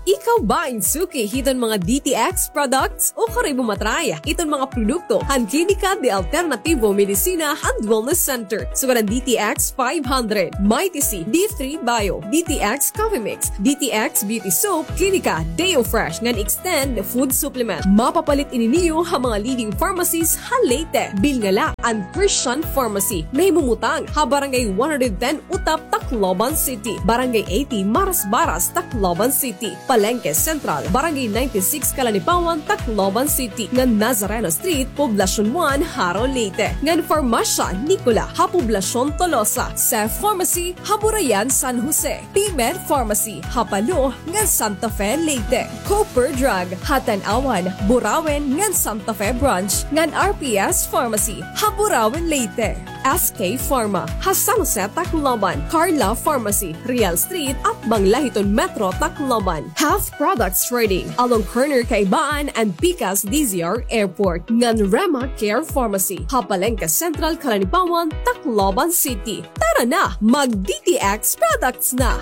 Ikaw ba in suki hiton mga D T X products? O karoy mo matry iton mga produkto han Klinika de Alternativo Medicina and Wellness Center? Sugad han D T X five hundred, Mighty C, D three Bio, D T X Coffee Mix, D T X Beauty Soap, Klinika Deo Fresh ngan Extend Food Supplement. Mapapalit ini niyo ha mga leading pharmacies ha Leyte. Bilnga la an Christian Pharmacy. Nahimumutang ha Barangay one hundred ten Utap, Tacloban City, Barangay eighty Marasbaras, Tacloban City, Palengke Central, Barangay ninety-six Calanipawan, Tacloban City, ngan Nazareno Street, Poblacion one, Jaro, Leyte, ngan Farmasya Nicola ha Poblacion Tolosa, Seth Pharmacy ha Burayan, San Jose, P-Med Pharmacy ha Palo ngan Santa Fe, Leyte, Cooper Drug ha Tanauan, Burauen ngan Santa Fe Branch, ngan R P S Pharmacy ha Burauen, Leyte, S K Pharma ha San Jose, Tacloban, Carla Pharmacy, Real Street, atbang la hiton Metro Tacloban, Health Products Trading along corner Kaibaan and Pikas D Z R Airport, ngan Rema Care Pharmacy ha Palengke Central, Calanipawan, Tacloban City. Tara na, mag D T X products na!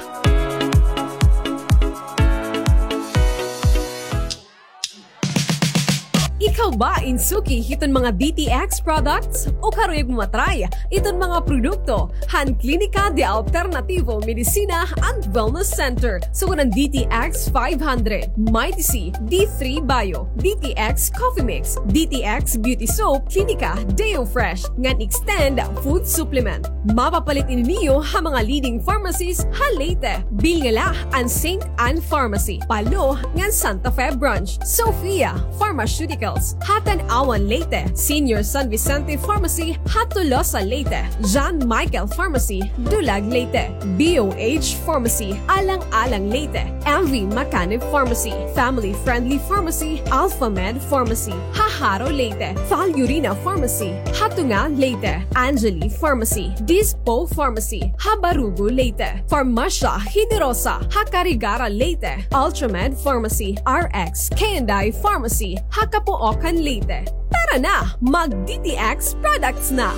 Ikaw ba in suki hiton mga D T X products? O karoy mo matry iton mga produkto han Klinika de Alternativo Medicina and Wellness Center? Sugad han D T X five hundred, Mighty C, D three Bio, D T X Coffee Mix, D T X Beauty Soap, Klinika Deo Fresh, ngan Extend Food Supplement. Mapapalit ini niyo ha mga leading pharmacies ha Leyte. Bilnga la an Saint Anne Pharmacy, Palo, ngan Santa Fe Branch, Sophia Pharmaceuticals ha Tanauan, Leyte, Senior San Vicente Pharmacy ha Tolosa, Leyte, John Michael Pharmacy, Dulag, Leyte, B O H Pharmacy, Alang-alang, Leyte, M V Macanib Pharmacy, Family Friendly Pharmacy, Alpha Med Pharmacy ha Jaro, Leyte, Valurina Pharmacy ha Tunga, Leyte, Angeli Pharmacy, Dispo Pharmacy ha Barugo, Leyte, Farmasya Generosa ha Carigara, Leyte, Ultramed Pharmacy, R X K and I Pharmacy ha Capoocan, Leyte. Tara na, mag D T X products na!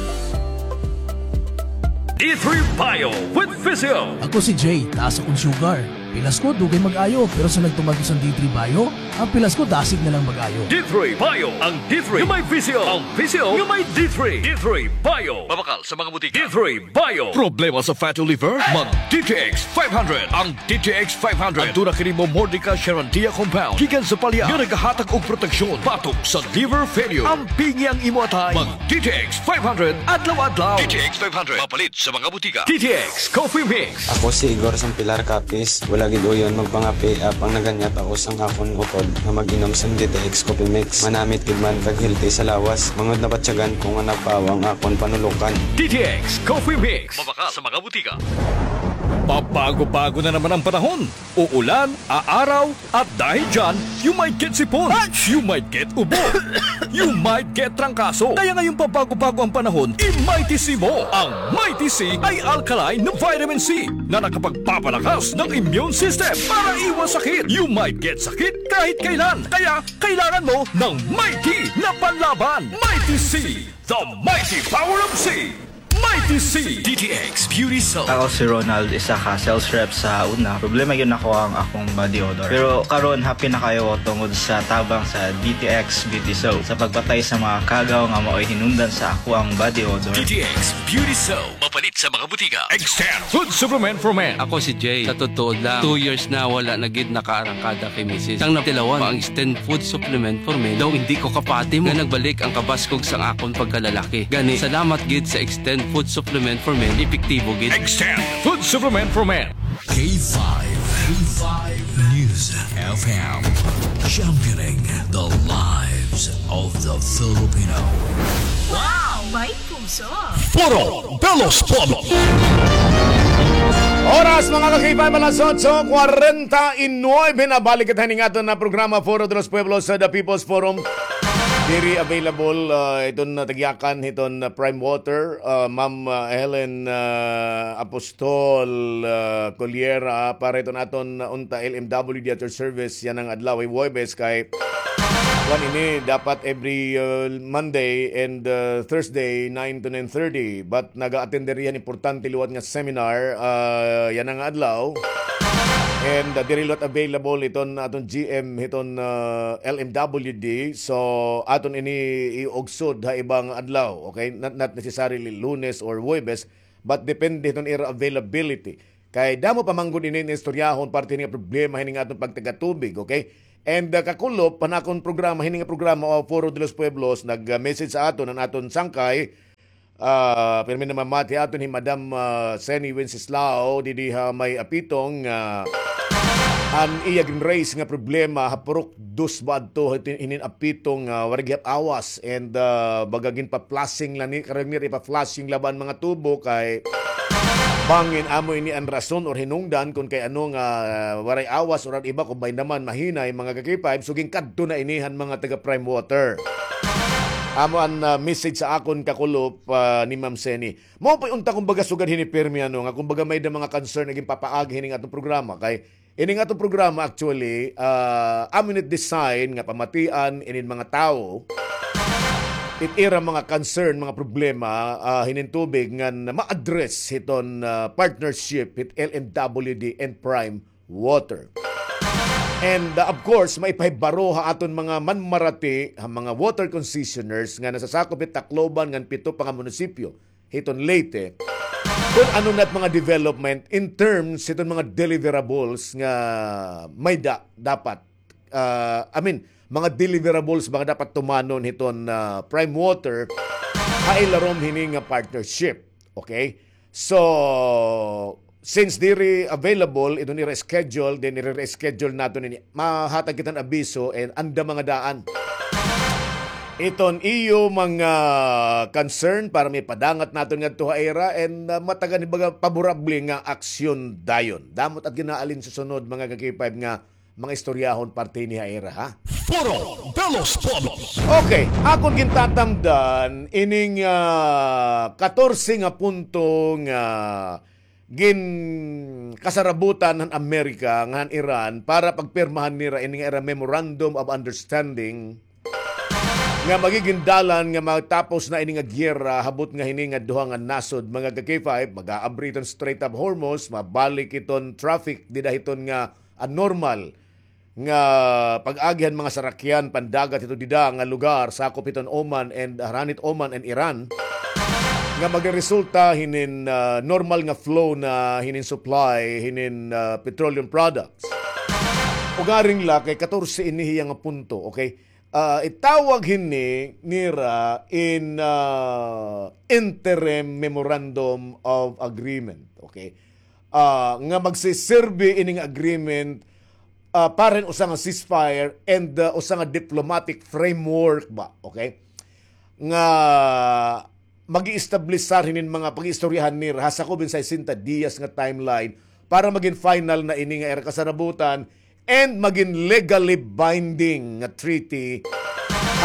D three Bio with Physio. Ako si Jay, taas akon sugar. Pilas ko, dugay mag-ayo, pero sa nagtumag ko sa D three Bio, an pilas ko, dasig na lang mag-ayo. D three Bio, ang D three nga may Physio, ang Physio nga may D three. D three Bio. Mabakal sa mga butika. D three Bio. Problema sa fatty liver? Mag D T X five hundred. Ang D T X five hundred. Aduna kini Momordica charantia compound gikan sa palya nga nagahatag og proteksyon batok sa liver failure. Ampingi ang imo atay. Mag D T X five hundred adlaw-adlaw. D T X five hundred. Mapalit sa mga butika. D T X Coffee Mix. Ako si Igor Sampilar Capiz. Wala gid uyon magpangape, apang naganyat ako sang akon utod nga mag-inom sang D T X Coffee Mix. Manamit gid man kag healthy sa lawas. Mangud nabatyagan ko nga napawa ang akon panulokan. D T X Coffee Mix. Mabakal sa mga butika. Pabago-bago na naman ang panahon. Uulan, aaraw, at dahil dyan, you might get sipon. You might get ubo. You might get trangkaso. Kaya ngayong pabago-bago ang panahon, i-Mighty C mo. Ang Mighty C ay alkaline na vitamin C na nakapagpapalakas ng immune system para iwas sakit. You might get sakit kahit kailan. Kaya kailangan mo ng Mighty na panlaban. Mighty C, the mighty power of C. Mighty C. D T X Beauty Soap. Ako si Ronald, isa ka sales rep sa una. Problema gyud nako ang akong body odor. Pero karon, happy na kaayo ko tungod sa tabang sa D T X Beauty Soap sa pagpatay sa mga kagaw nga maoy hinungdan sa akoang body odor. D T X Beauty Soap. Mapalit sa mga butika. Extend Food Supplement for Men. Ako si Jay. Sa totoo lang, two years na wala na gid nakaarangkada kay misis. Sang natilawan pa ang Extend Food Supplement for Men, daw indi ko kapati mo nga nagbalik ang kabaskog sang akon pagkalalaki. Gani, salamat gid sa Extend Food Supplement for Men, epektibo gid. Extend Food Supplement for Men. K five, K five News F M, championing the lives of the Filipino. Wow! May puso! Foro de los Pueblos. Oras, mga ka-K five, alas otso kwarenta y nuebe na. Balik kita hining aton na programa, Foro de los Pueblos, sa The People's Forum. Diri available, ah, iton, ah, tagyakan hiton, ah, Prime Water, ah, Ma'am, ah, Helen, ah, Apostol, ah, Collier, ah, para iton aton, ah, unta L M W D at your service yana nga adlaw, Huwebes, kay Kuan ini, dapat every, uh, Monday and, uh, Thursday, nine to nine thirty. But naga-attend diri han importante liwat nga seminar, uh, yana nga adlaw. And, uh, diri liwat available hiton aton G M hiton, uh, L M W D. So, aton ini iugsod ha iba nga adlaw, okay? Not, not necessarily Lunes or Huwebes, but depende hiton ira availability. Kay damo pa man gud ini nga istoryahon parte hini nga problema hini nga aton pagtagatubig, okay? And, uh, kakulop han akon programa, hini nga programa, uh, Foro de los Pueblos, nag-message sa aton an aton sangkay, uh, pirmi namamati aton hi Madam, uh, Seni Wenceslao, didi ha may Apitong, uh, an iya gin-raise nga problema ha purok dos ba adto, hinin Apitong, uh, waray gihap awas, and, uh, baga ginpa-flushing la ni, karuyag nira ipa-flushing la ba an mga tubo kay bangin amo ini an rason or hinungdan kon kay ano nga, ah, waray awas or an iba kon may naman mahinay, mga ka-K five, so ginkadto na ini han mga taga Prime Water. Amo an, ah, message sa akon kakulop, ah, ni Ma'am Seni. Mao pa'y unta kumbaga sugad hini pirmi ano nga kumbaga may da mga concern nga ginpapaagi hini nga atong programa kay Ini nga atong programa, actually, ah, amo ini it design nga pamatian inin mga tawo it ira mga concern, mga problema, ah, hinin tubig ngan ma-address hiton, ah, partnership hit L M W D and Prime Water. And, ah, of course, maipahibaro ha aton mga manmarati, ha mga water concessioners nga nasasakop hit Tacloban ngan pito pa nga munisipyo hiton Leyte, kon ano na it mga development in terms hiton mga deliverables nga may da, dapat, ah, I mean, mga deliverables mga dapat tumanon hiton, ah, Prime Water ha ilarom hini nga partnership. Okay? So, since diri available iton ira schedule, then i-reschedule naton ini. Mahatag kita hin abiso and anda mga daan iton iyo mga concern para maipadangat naton ngadto ha ira and, ah, matagan hin baga paborable nga aksyon dayon. Damo it at ginaalin sa sunod, mga ka-K five, nga mga istoryahon parte hini ha ira, ha? Foro de los Pueblos. Okay, akon gintatamdan ining, ah, katorse nga punto nga ginkasarabutan han Amerika ngan han Iran para pagpirmahan nira ini nga ira Memorandum of Understanding nga magigin dalan nga matapos na ini nga giyera, habot nga hini nga duha nga nasod, mga ka-K five, mag-aabri iton Strait of Hormuz, mabalik iton traffic dida hiton nga, ah, normal nga pag-agi han mga sarakyan pandagat hito dida nga lugar, sakop hiton Oman and, ah, harani hit Oman and Iran, nga magresulta hinin, ah, normal nga flow na hinin supply hinin, ah, petroleum products. Ugaring la kay katorse ini hiya nga punto, okay? Ah, itawag hini nira in, ah, interim memorandum of agreement, okay? Ah, nga magsiserbi ining agreement, ah, para hin usa nga ceasefire and, ah, usa nga diplomatic framework ba, okay? Nga mag-i-establishar hinin mga pag-iistoryahan nira ha sakob hin sesenta diyas nga timeline para magin final na ini nga ira kasarabutan and magin legally binding nga treaty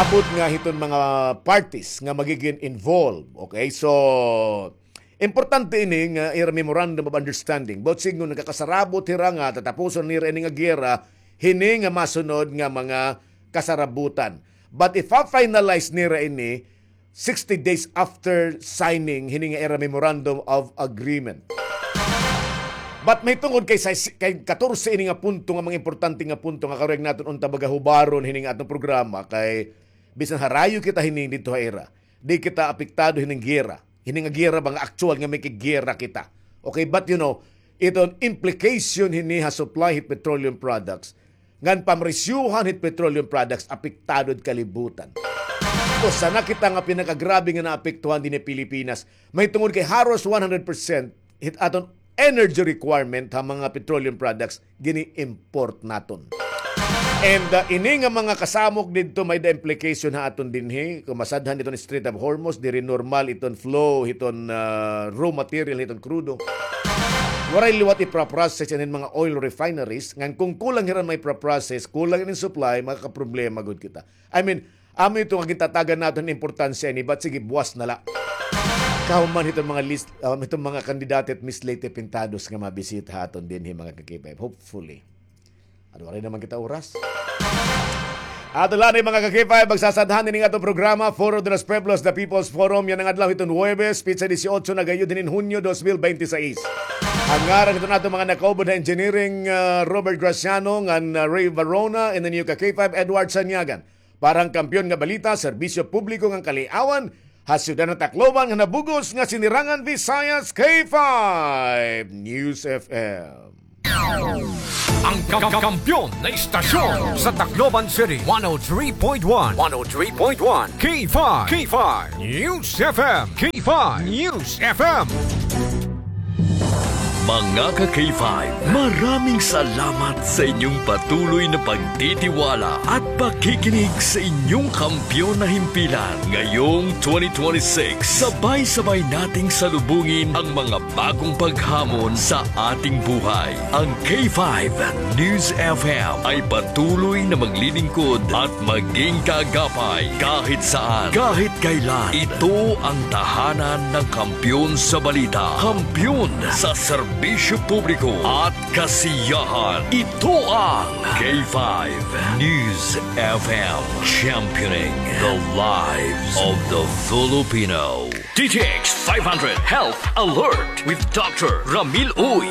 habot nga hiton mga parties nga magigin involved. Okay? So, importante ini nga ira memorandum of understanding. Buot siring nga nagkakasarabot hira nga tatapuson nira ini nga giyera, hini nga masunod nga mga kasarabutan. But if ma-finalize nira ini, sixty days after signing hini nga ira memorandum of agreement. But mahitungod kay sa, kay katorse ini nga punto nga mga importante nga punto nga karuyag naton unta baga hubaron hini nga atong programa kay bisan harayo kita hini didto ha ira, di kita apektado hining giyera. Hini nga giyera ba nga aktuwal nga makigiyera kita. Okay, but you know, iton implication hini ha supply hit petroleum products, ngan pamresyuhan hit petroleum products apektado it kalibutan. Usa na kita nga pinakagrabe nga naapektuhan dinhi Pilipinas. Mahitungod kay haros one hundred percent hit aton energy requirement ha mga petroleum products gini-import naton. And, uh, ini nga mga kasamok didto may da implication ha aton dinhi. Kon masadhan iton Strait of Hormuz, diri normal iton flow hiton, uh, raw material hiton krudo. Waray liwat ipra-process inin mga oil refineries. Ngan kon kulang hira may pra-process, kulang inin supply, makakaproblema gud kita. I mean, amo ito nga gintatagan naton importansya ini, but sige, buwas na la. Kahuman hiton mga list, um, hiton mga kandidato hit Miss Leyte Pintados nga mabisita ha aton dinhi, mga ka-K five. Hopefully. Ano, waray naman kita oras. Ato la ni mga ka-K five, magsasadhan ini nga atong programa, Foro de los Pueblos, The People's Forum, yana nga adlaw hiton Huwebes, petsa disiotso na gayud hinin Hunyo dos mil bente seis. An ngaran hiton aton mga nakaupod ha engineering, ah, Robert Graciano, ngan, ah, Ray Varona, and then iyo ka-K five, Edward Sanyagan. Para han Kampiyon nga Balita, Serbisyo Publiko ngan Kaliawan, ha siyudad han Tacloban, nga nabug-os nga Sinirangan Visayas, K five News F M. Ang ka-, kampiyon na istasyon sa Tacloban City, one oh three point one, one oh three point one, K five, K five News F M, K five News F M. Mga ka-K five, maraming salamat sa inyong patuloy na pagtitiwala at pakikinig sa inyong kampiyon na himpilan. Ngayong twenty twenty-six, sabay-sabay nating salubungin ang mga bagong paghamon sa ating buhay. Ang K five News F M ay patuloy na maglilingkod at maging kaagapay kahit saan, kahit kailan. Ito ang tahanan ng kampiyon sa balita, kampiyon sa serbisyo publiko at kasiyahan. Ito ang K five News F M, championing the lives of the Filipino. D T X five hundred Health Alert with Doctor Ramil Uy.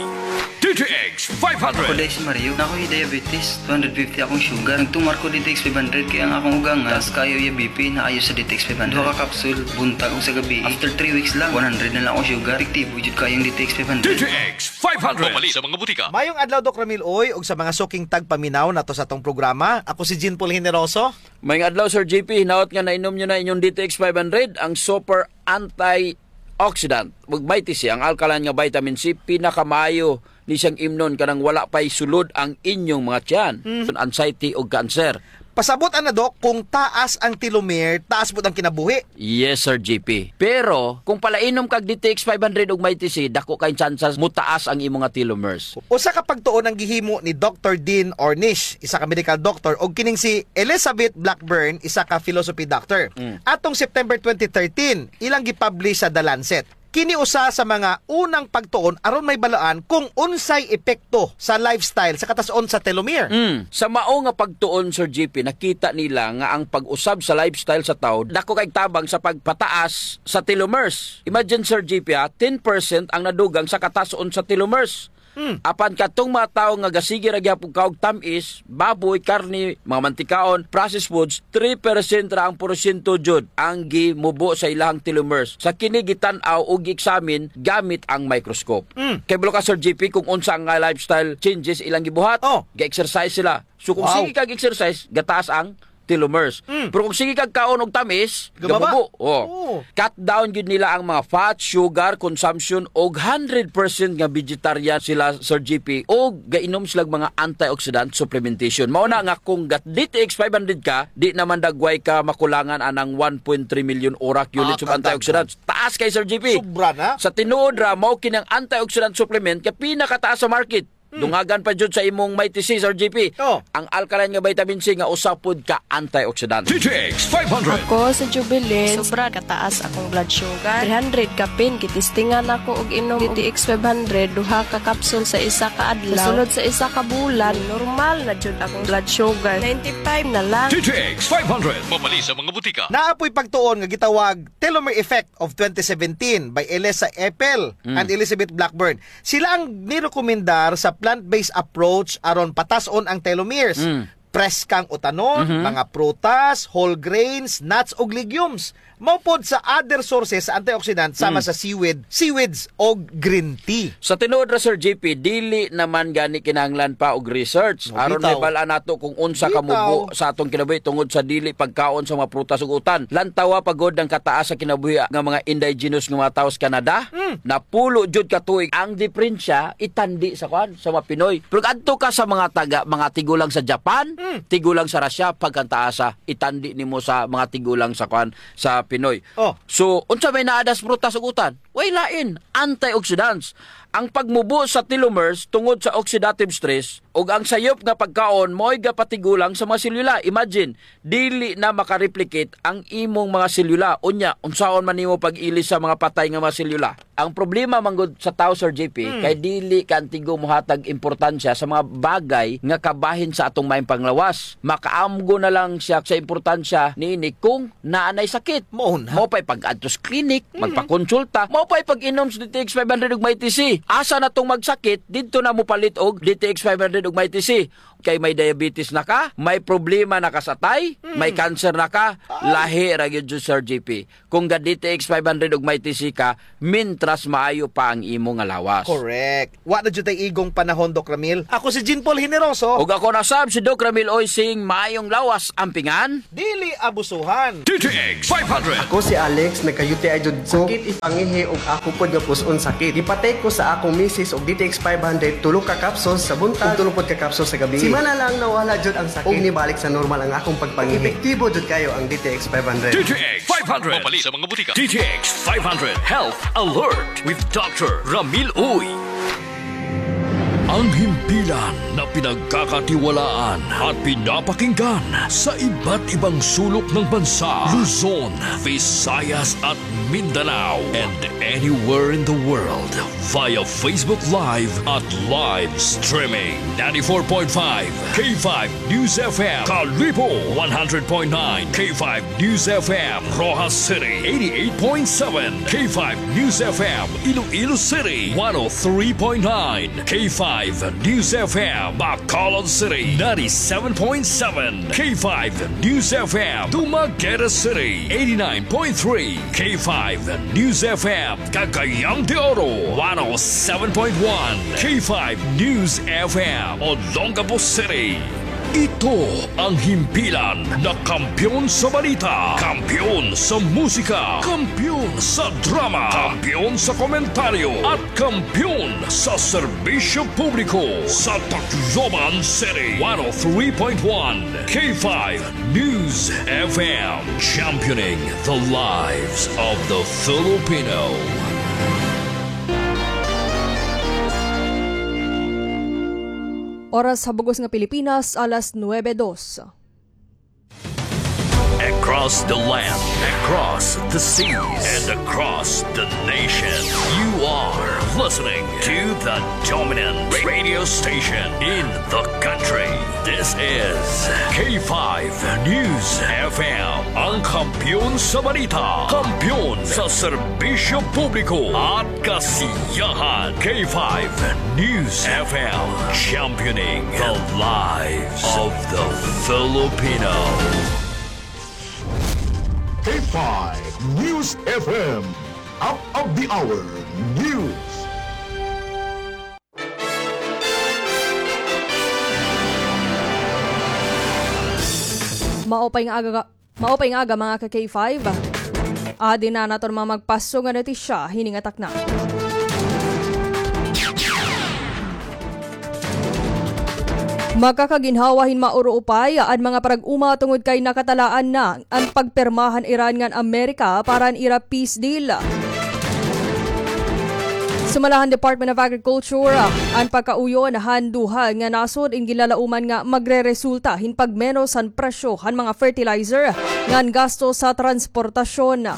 D T X five hundred. Ako, Dai, si Mario. Ako, hi diabetes. Two hundred fifty akong sugar. Nagtumar ko D T X five hundred kay ang akong ugang nga taas kaayo iya B P, naayo sa D T X five hundred. Duha ka capsule, buntag ug sa gabii. After three weeks lang, one hundred na lang akong sugar. Epektibo jud kaayo ang D T X five hundred. D T X five hundred. Mamalit sa mga butika. Mayong adlaw, Doc Ramil Uy, ug sa mga suking tagpaminaw nato sa atong programa. Ako si Jean Paul Generoso. Mayong adlaw, Sir J P. Hinaot nga nainom niyo na inyong D T X five hundred, ang super antioxidant. Ug may tisi, ang alkaline nga vitamin C, pinakamaayo ni siyang imnon kanang wala pa'y sulod ang inyong mga tiyan, Mm. anxiety o cancer. Pasabot ana, Doc, kung taas ang telomere, taas pud ang kinabuhi. Yes, Sir J P. Pero, kung palainom kag D T X five hundred ug may tisi, dako kay tsansa mutaas ang imo nga telomeres. Usa ka pagtuon ang gihimo ni Doctor Dean Ornish, isa ka medical doctor, ug kining si Elizabeth Blackburn, isa ka philosophy doctor. Mm. Atong September twenty thirteen, ilang gipublish sa The Lancet. Kini usa sa mga unang pagtuon aron mahibaluan kung unsay epekto sa lifestyle sa katas-on sa telomere. Mm. Sa mao nga pagtuon, Sir J P, nakita nila nga ang pag-usab sa lifestyle sa tawo dako kay tabang sa pagpataas sa telomeres. Imagine, Sir J P, ha, ten percent ang nadugang sa katas-on sa telomeres. Hmm. Apan katong mga tawo nga gasige ra gihapon kaog tam-is, baboy, karne, mga mantikaon, processed foods, three percent ra ang porsyento jud ang gimubo sa ilahang telomeres. Sa kini gitan-aw o gi-examine gamit ang microscope. Hmm. Kay kabalo ka, Sir J P, kung unsa nga lifestyle changes ilang gibuhat, Oh. ga-exercise sila. So kung Wow. sige kag exercise, gataas ang telomeres. Mm. Pero kung sige kag kaon og tamis, Gababa. gamubo. Oh. Oo. Cut down gyud nila ang mga fat, sugar consumption, og hundred percent nga vegetarian sila, Sir J P, og gainom sila mga antioxidant supplementation. Mao na nga kung ga-, D T X five hundred ka, di naman dagway ka makulangan anang one point three million orak units of Ah, antioxidants. Taas kay, Sir J P. Sobra na. Sa tinuod ra, mao kini ang antioxidant supplement nga pinakataas sa market. Hmm. Dungagan pa jud sa imong Mighty C, Sir J P. Oh. Ang alkaline nga vitamin C nga usa pod ka antioxidant. D T X five hundred. Ako si Jubilin. Sobra kataas akong blood sugar. Three hundred kapin, gitistingan ako og inom D T X five hundred, duha ka kapsul sa isa ka adlaw. Sa sulod sa isa ka bulan, normal na jud akong blood sugar. Ninety-five na lang. D T X five hundred. Mabali sa mga butika. Naa po'y pagtuon nga gitawag telomere effect of twenty seventeen by Elisa Epel Mm. and Elizabeth Blackburn. Sila ang nirekomendar sa plant-based approach aron patas-on ang telomeres. Mm. Preskang utanon, Mhm. mga prutas, whole grains, nuts, ug legumes. Mao pod sa other sources sa antioxidant sama Mm. sa seaweed, seaweeds, o green tea. Sa tinuod ra, Sir J P, dili naman gani kinahanglan pa og research. Oh, Aron bitaw. Mabal-an nato kung unsa Bitaw. kamubo sa atong kinabuhi tungod sa dili pagkaon sa mga prutas ug utan. Lantawa pa gud ang kataas sa kinabuhi nga mga indigenous nga mga tawo sa Canada. Mm. Napulo jud ka tuig. Ang diperensya, itandi sa kuan, sa mga Pinoy. Pero adto ka sa mga taga, mga tigulang sa Japan, Mm. tigulang sa Russia, pagkantaasa, itandi nimo sa mga tigulang sa kuan, sa Pinoy. Oh. So, unsa may naadas prutas ug utan? Way lain, antioxidants. Ang pagmubo sa telomeres tungod sa oxidative stress ug ang sayop nga pagkaon mao'y gapatigulang sa mga selula. Imagine, dili na makareplicate ang imong mga selula. Unya, unsaon man nimo pag-ilis sa mga patay nga mga selula? Ang problema man gud sa tawo, Sir J P, kay dili ka antigo mohatag importansya sa mga bagay nga kabahin sa atong maayong panglawas. Makaamgo na lang siya sa importansya niini kung naa nay sakit. Mao na. Mao pa'y pag-adto sa klinik, magpakonsulta. Mao pa'y pag-inom sa D T X five hundred ug Mighty C. Asa na tong magsakit, didto na mopalit og D T X five hundred ug Mighty C. Kay may diabetes na ka, may problema na ka sa atay, may cancer na ka, lahi ra gyud, Sir J P. Kung ga-D T X five hundred ug Mighty C ka, mintras maayo pa ang imo nga lawas. Correct. Wa na jud tay igong panahon, Doc Ramil. Ako si Jean Paul Generoso. Ug ako na sab si Doc Ramil Oy, sing maayong lawas, ampingan. Dili abusuhan. D T X five hundred. Ako si Alex, nagka-U T I jud ko. Sakit it pangihi ug ako pod nga pus-on sakit. Gipatake ko sa akong misis og D T X five hundred, tulo ka capsules sa buntag ug tulo pod ka capsules sa gabii. Simana lang nawala jud ang sakit ug nibalik sa normal ang akong pagpangihi. Epektibo jud kayo ang D T X five hundred. D T X five hundred. Mapalit sa mga butika. D T X five hundred Health Alert with Doctor Ramil Uy. Ang himpilan na pinagkakatiwalaan at pinapakinggan sa iba't ibang sulok ng bansa, Luzon, Visayas at Mindanao, and anywhere in the world via Facebook Live at live streaming. Ninety-four point five K five News F M, Kalibo, one hundred point nine K five News F M, Roxas City, eighty-eight point seven K five News F M, Iloilo City, one oh three point nine K five News F M, Bacolod City, ninety-seven point seven K five News F M, Dumaguete City, eighty-nine point three K five News F M, Cagayan de Oro, one oh seven point one K five News F M, Olongapo City. Ito ang himpilan na kampiyon sa balita, kampiyon sa musika, kampiyon sa drama, kampiyon sa komentaryo, at kampiyon sa serbisyo publiko sa Tacloban City, one oh three point one K five News F M, championing the lives of the Filipino. Oras ha bug-os nga Pilipinas, alas nuebe dos. Across the land, across the seas, and across the nation, you are listening to the dominant radio station in the country. This is K five News F M, ang kampiyon sa balita, kampiyon sa serbisyo publiko at kasiyahan. K five News F M, championing the lives of the Filipino. K five News F M, up of the hour news. Maupay nga aga, maupay nga aga, mga ka-K five. Adi na an aton mga magpaso nga notisya hini nga takna. Makakaginhawa hin mauruupay an mga parag-uma tungod kay nakatalaan na an pagpirma han Iran ngan Amerika para han ira peace deal. Sumala han Department of Agriculture, an pagkauyon han duha nga nasod in ginlalauman nga magreresulta hin pagmenos han presyo han mga fertilizer ngan gasto sa transportasyon.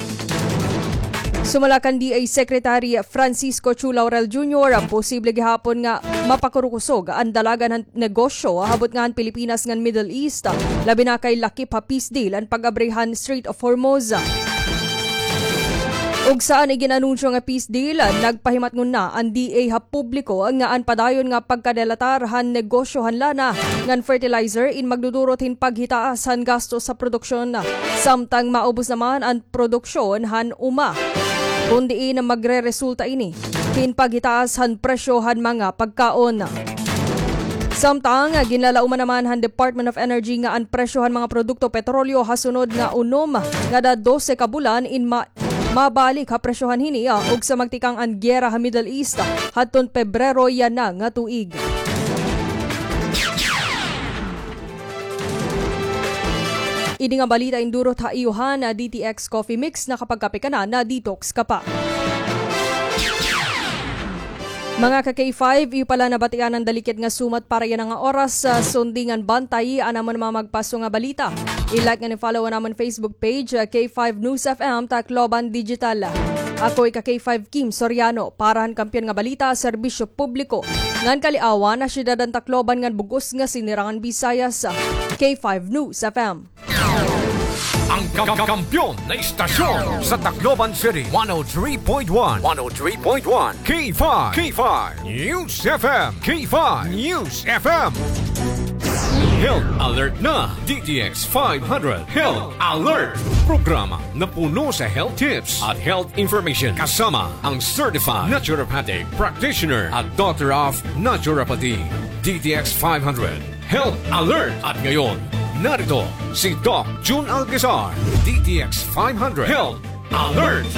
Sumala kan D A Secretary Francisco Chu Laurel Junior, posible gihapon nga mapakurukusog an dalagan han negosyo ha butnga han Pilipinas ngan Middle East, labi na kay lakip ha peace deal an pag-abri han Strait of Hormuz. Ug sa an igin-anunsyo nga peace deal, nagpahimatngon na an D A ha publiko nga an padayon nga pagkadelatar han negosyo han lana ngan fertilizer in magdudurot hin paghitaas han gasto sa produksyon, samtang maubos naman an produksyon han uma, kun diin magreresulta ini hin paghitaas han presyo han mga pagkaon. Samtang, ginlalauman naman han Department of Energy nga an presyo han mga produkto petrolyo ha sunod nga unom ngada dose ka bulan in ma-, mabalik ha presyohan hini, ah, ug sa magtikang an giyera ha Middle East hadton Pebrero yana nga tuig. Ini nga balita in durot ha iyo han D T X Coffee Mix, nakapagkape ka na, na-detox ka pa. Mga ka K five, iyo pa la nabatian an dalikid nga sumat para yana nga oras. Ah, sundi ngan bantayi an amon mga magpaso nga balita. I-like ngan i-follow an amon Facebook page, ah, K five News F M Tacloban Digital. Ako hi ka K five Kim Soriano, para han Kampiyon nga Balita, Serbisyo Publiko ngan Kaliawan, ha siyudad han Tacloban ngan bug-os nga Sinirangan Visayas, K five News F M. Ang ka-, ka-, kampiyon na istasyon sa Tacloban City, one oh three point one, one oh three point one, K five, K five News F M, K five News F M. Health Alert na, D T X five hundred Health Alert. Programa na puno sa health tips at health information, kasama ang certified naturopathic practitioner at Doctor of Naturopathy, D T X five hundred Health Alert. At ngayon, narito si Doc Jun Alcazar, D T X five hundred Health Alert.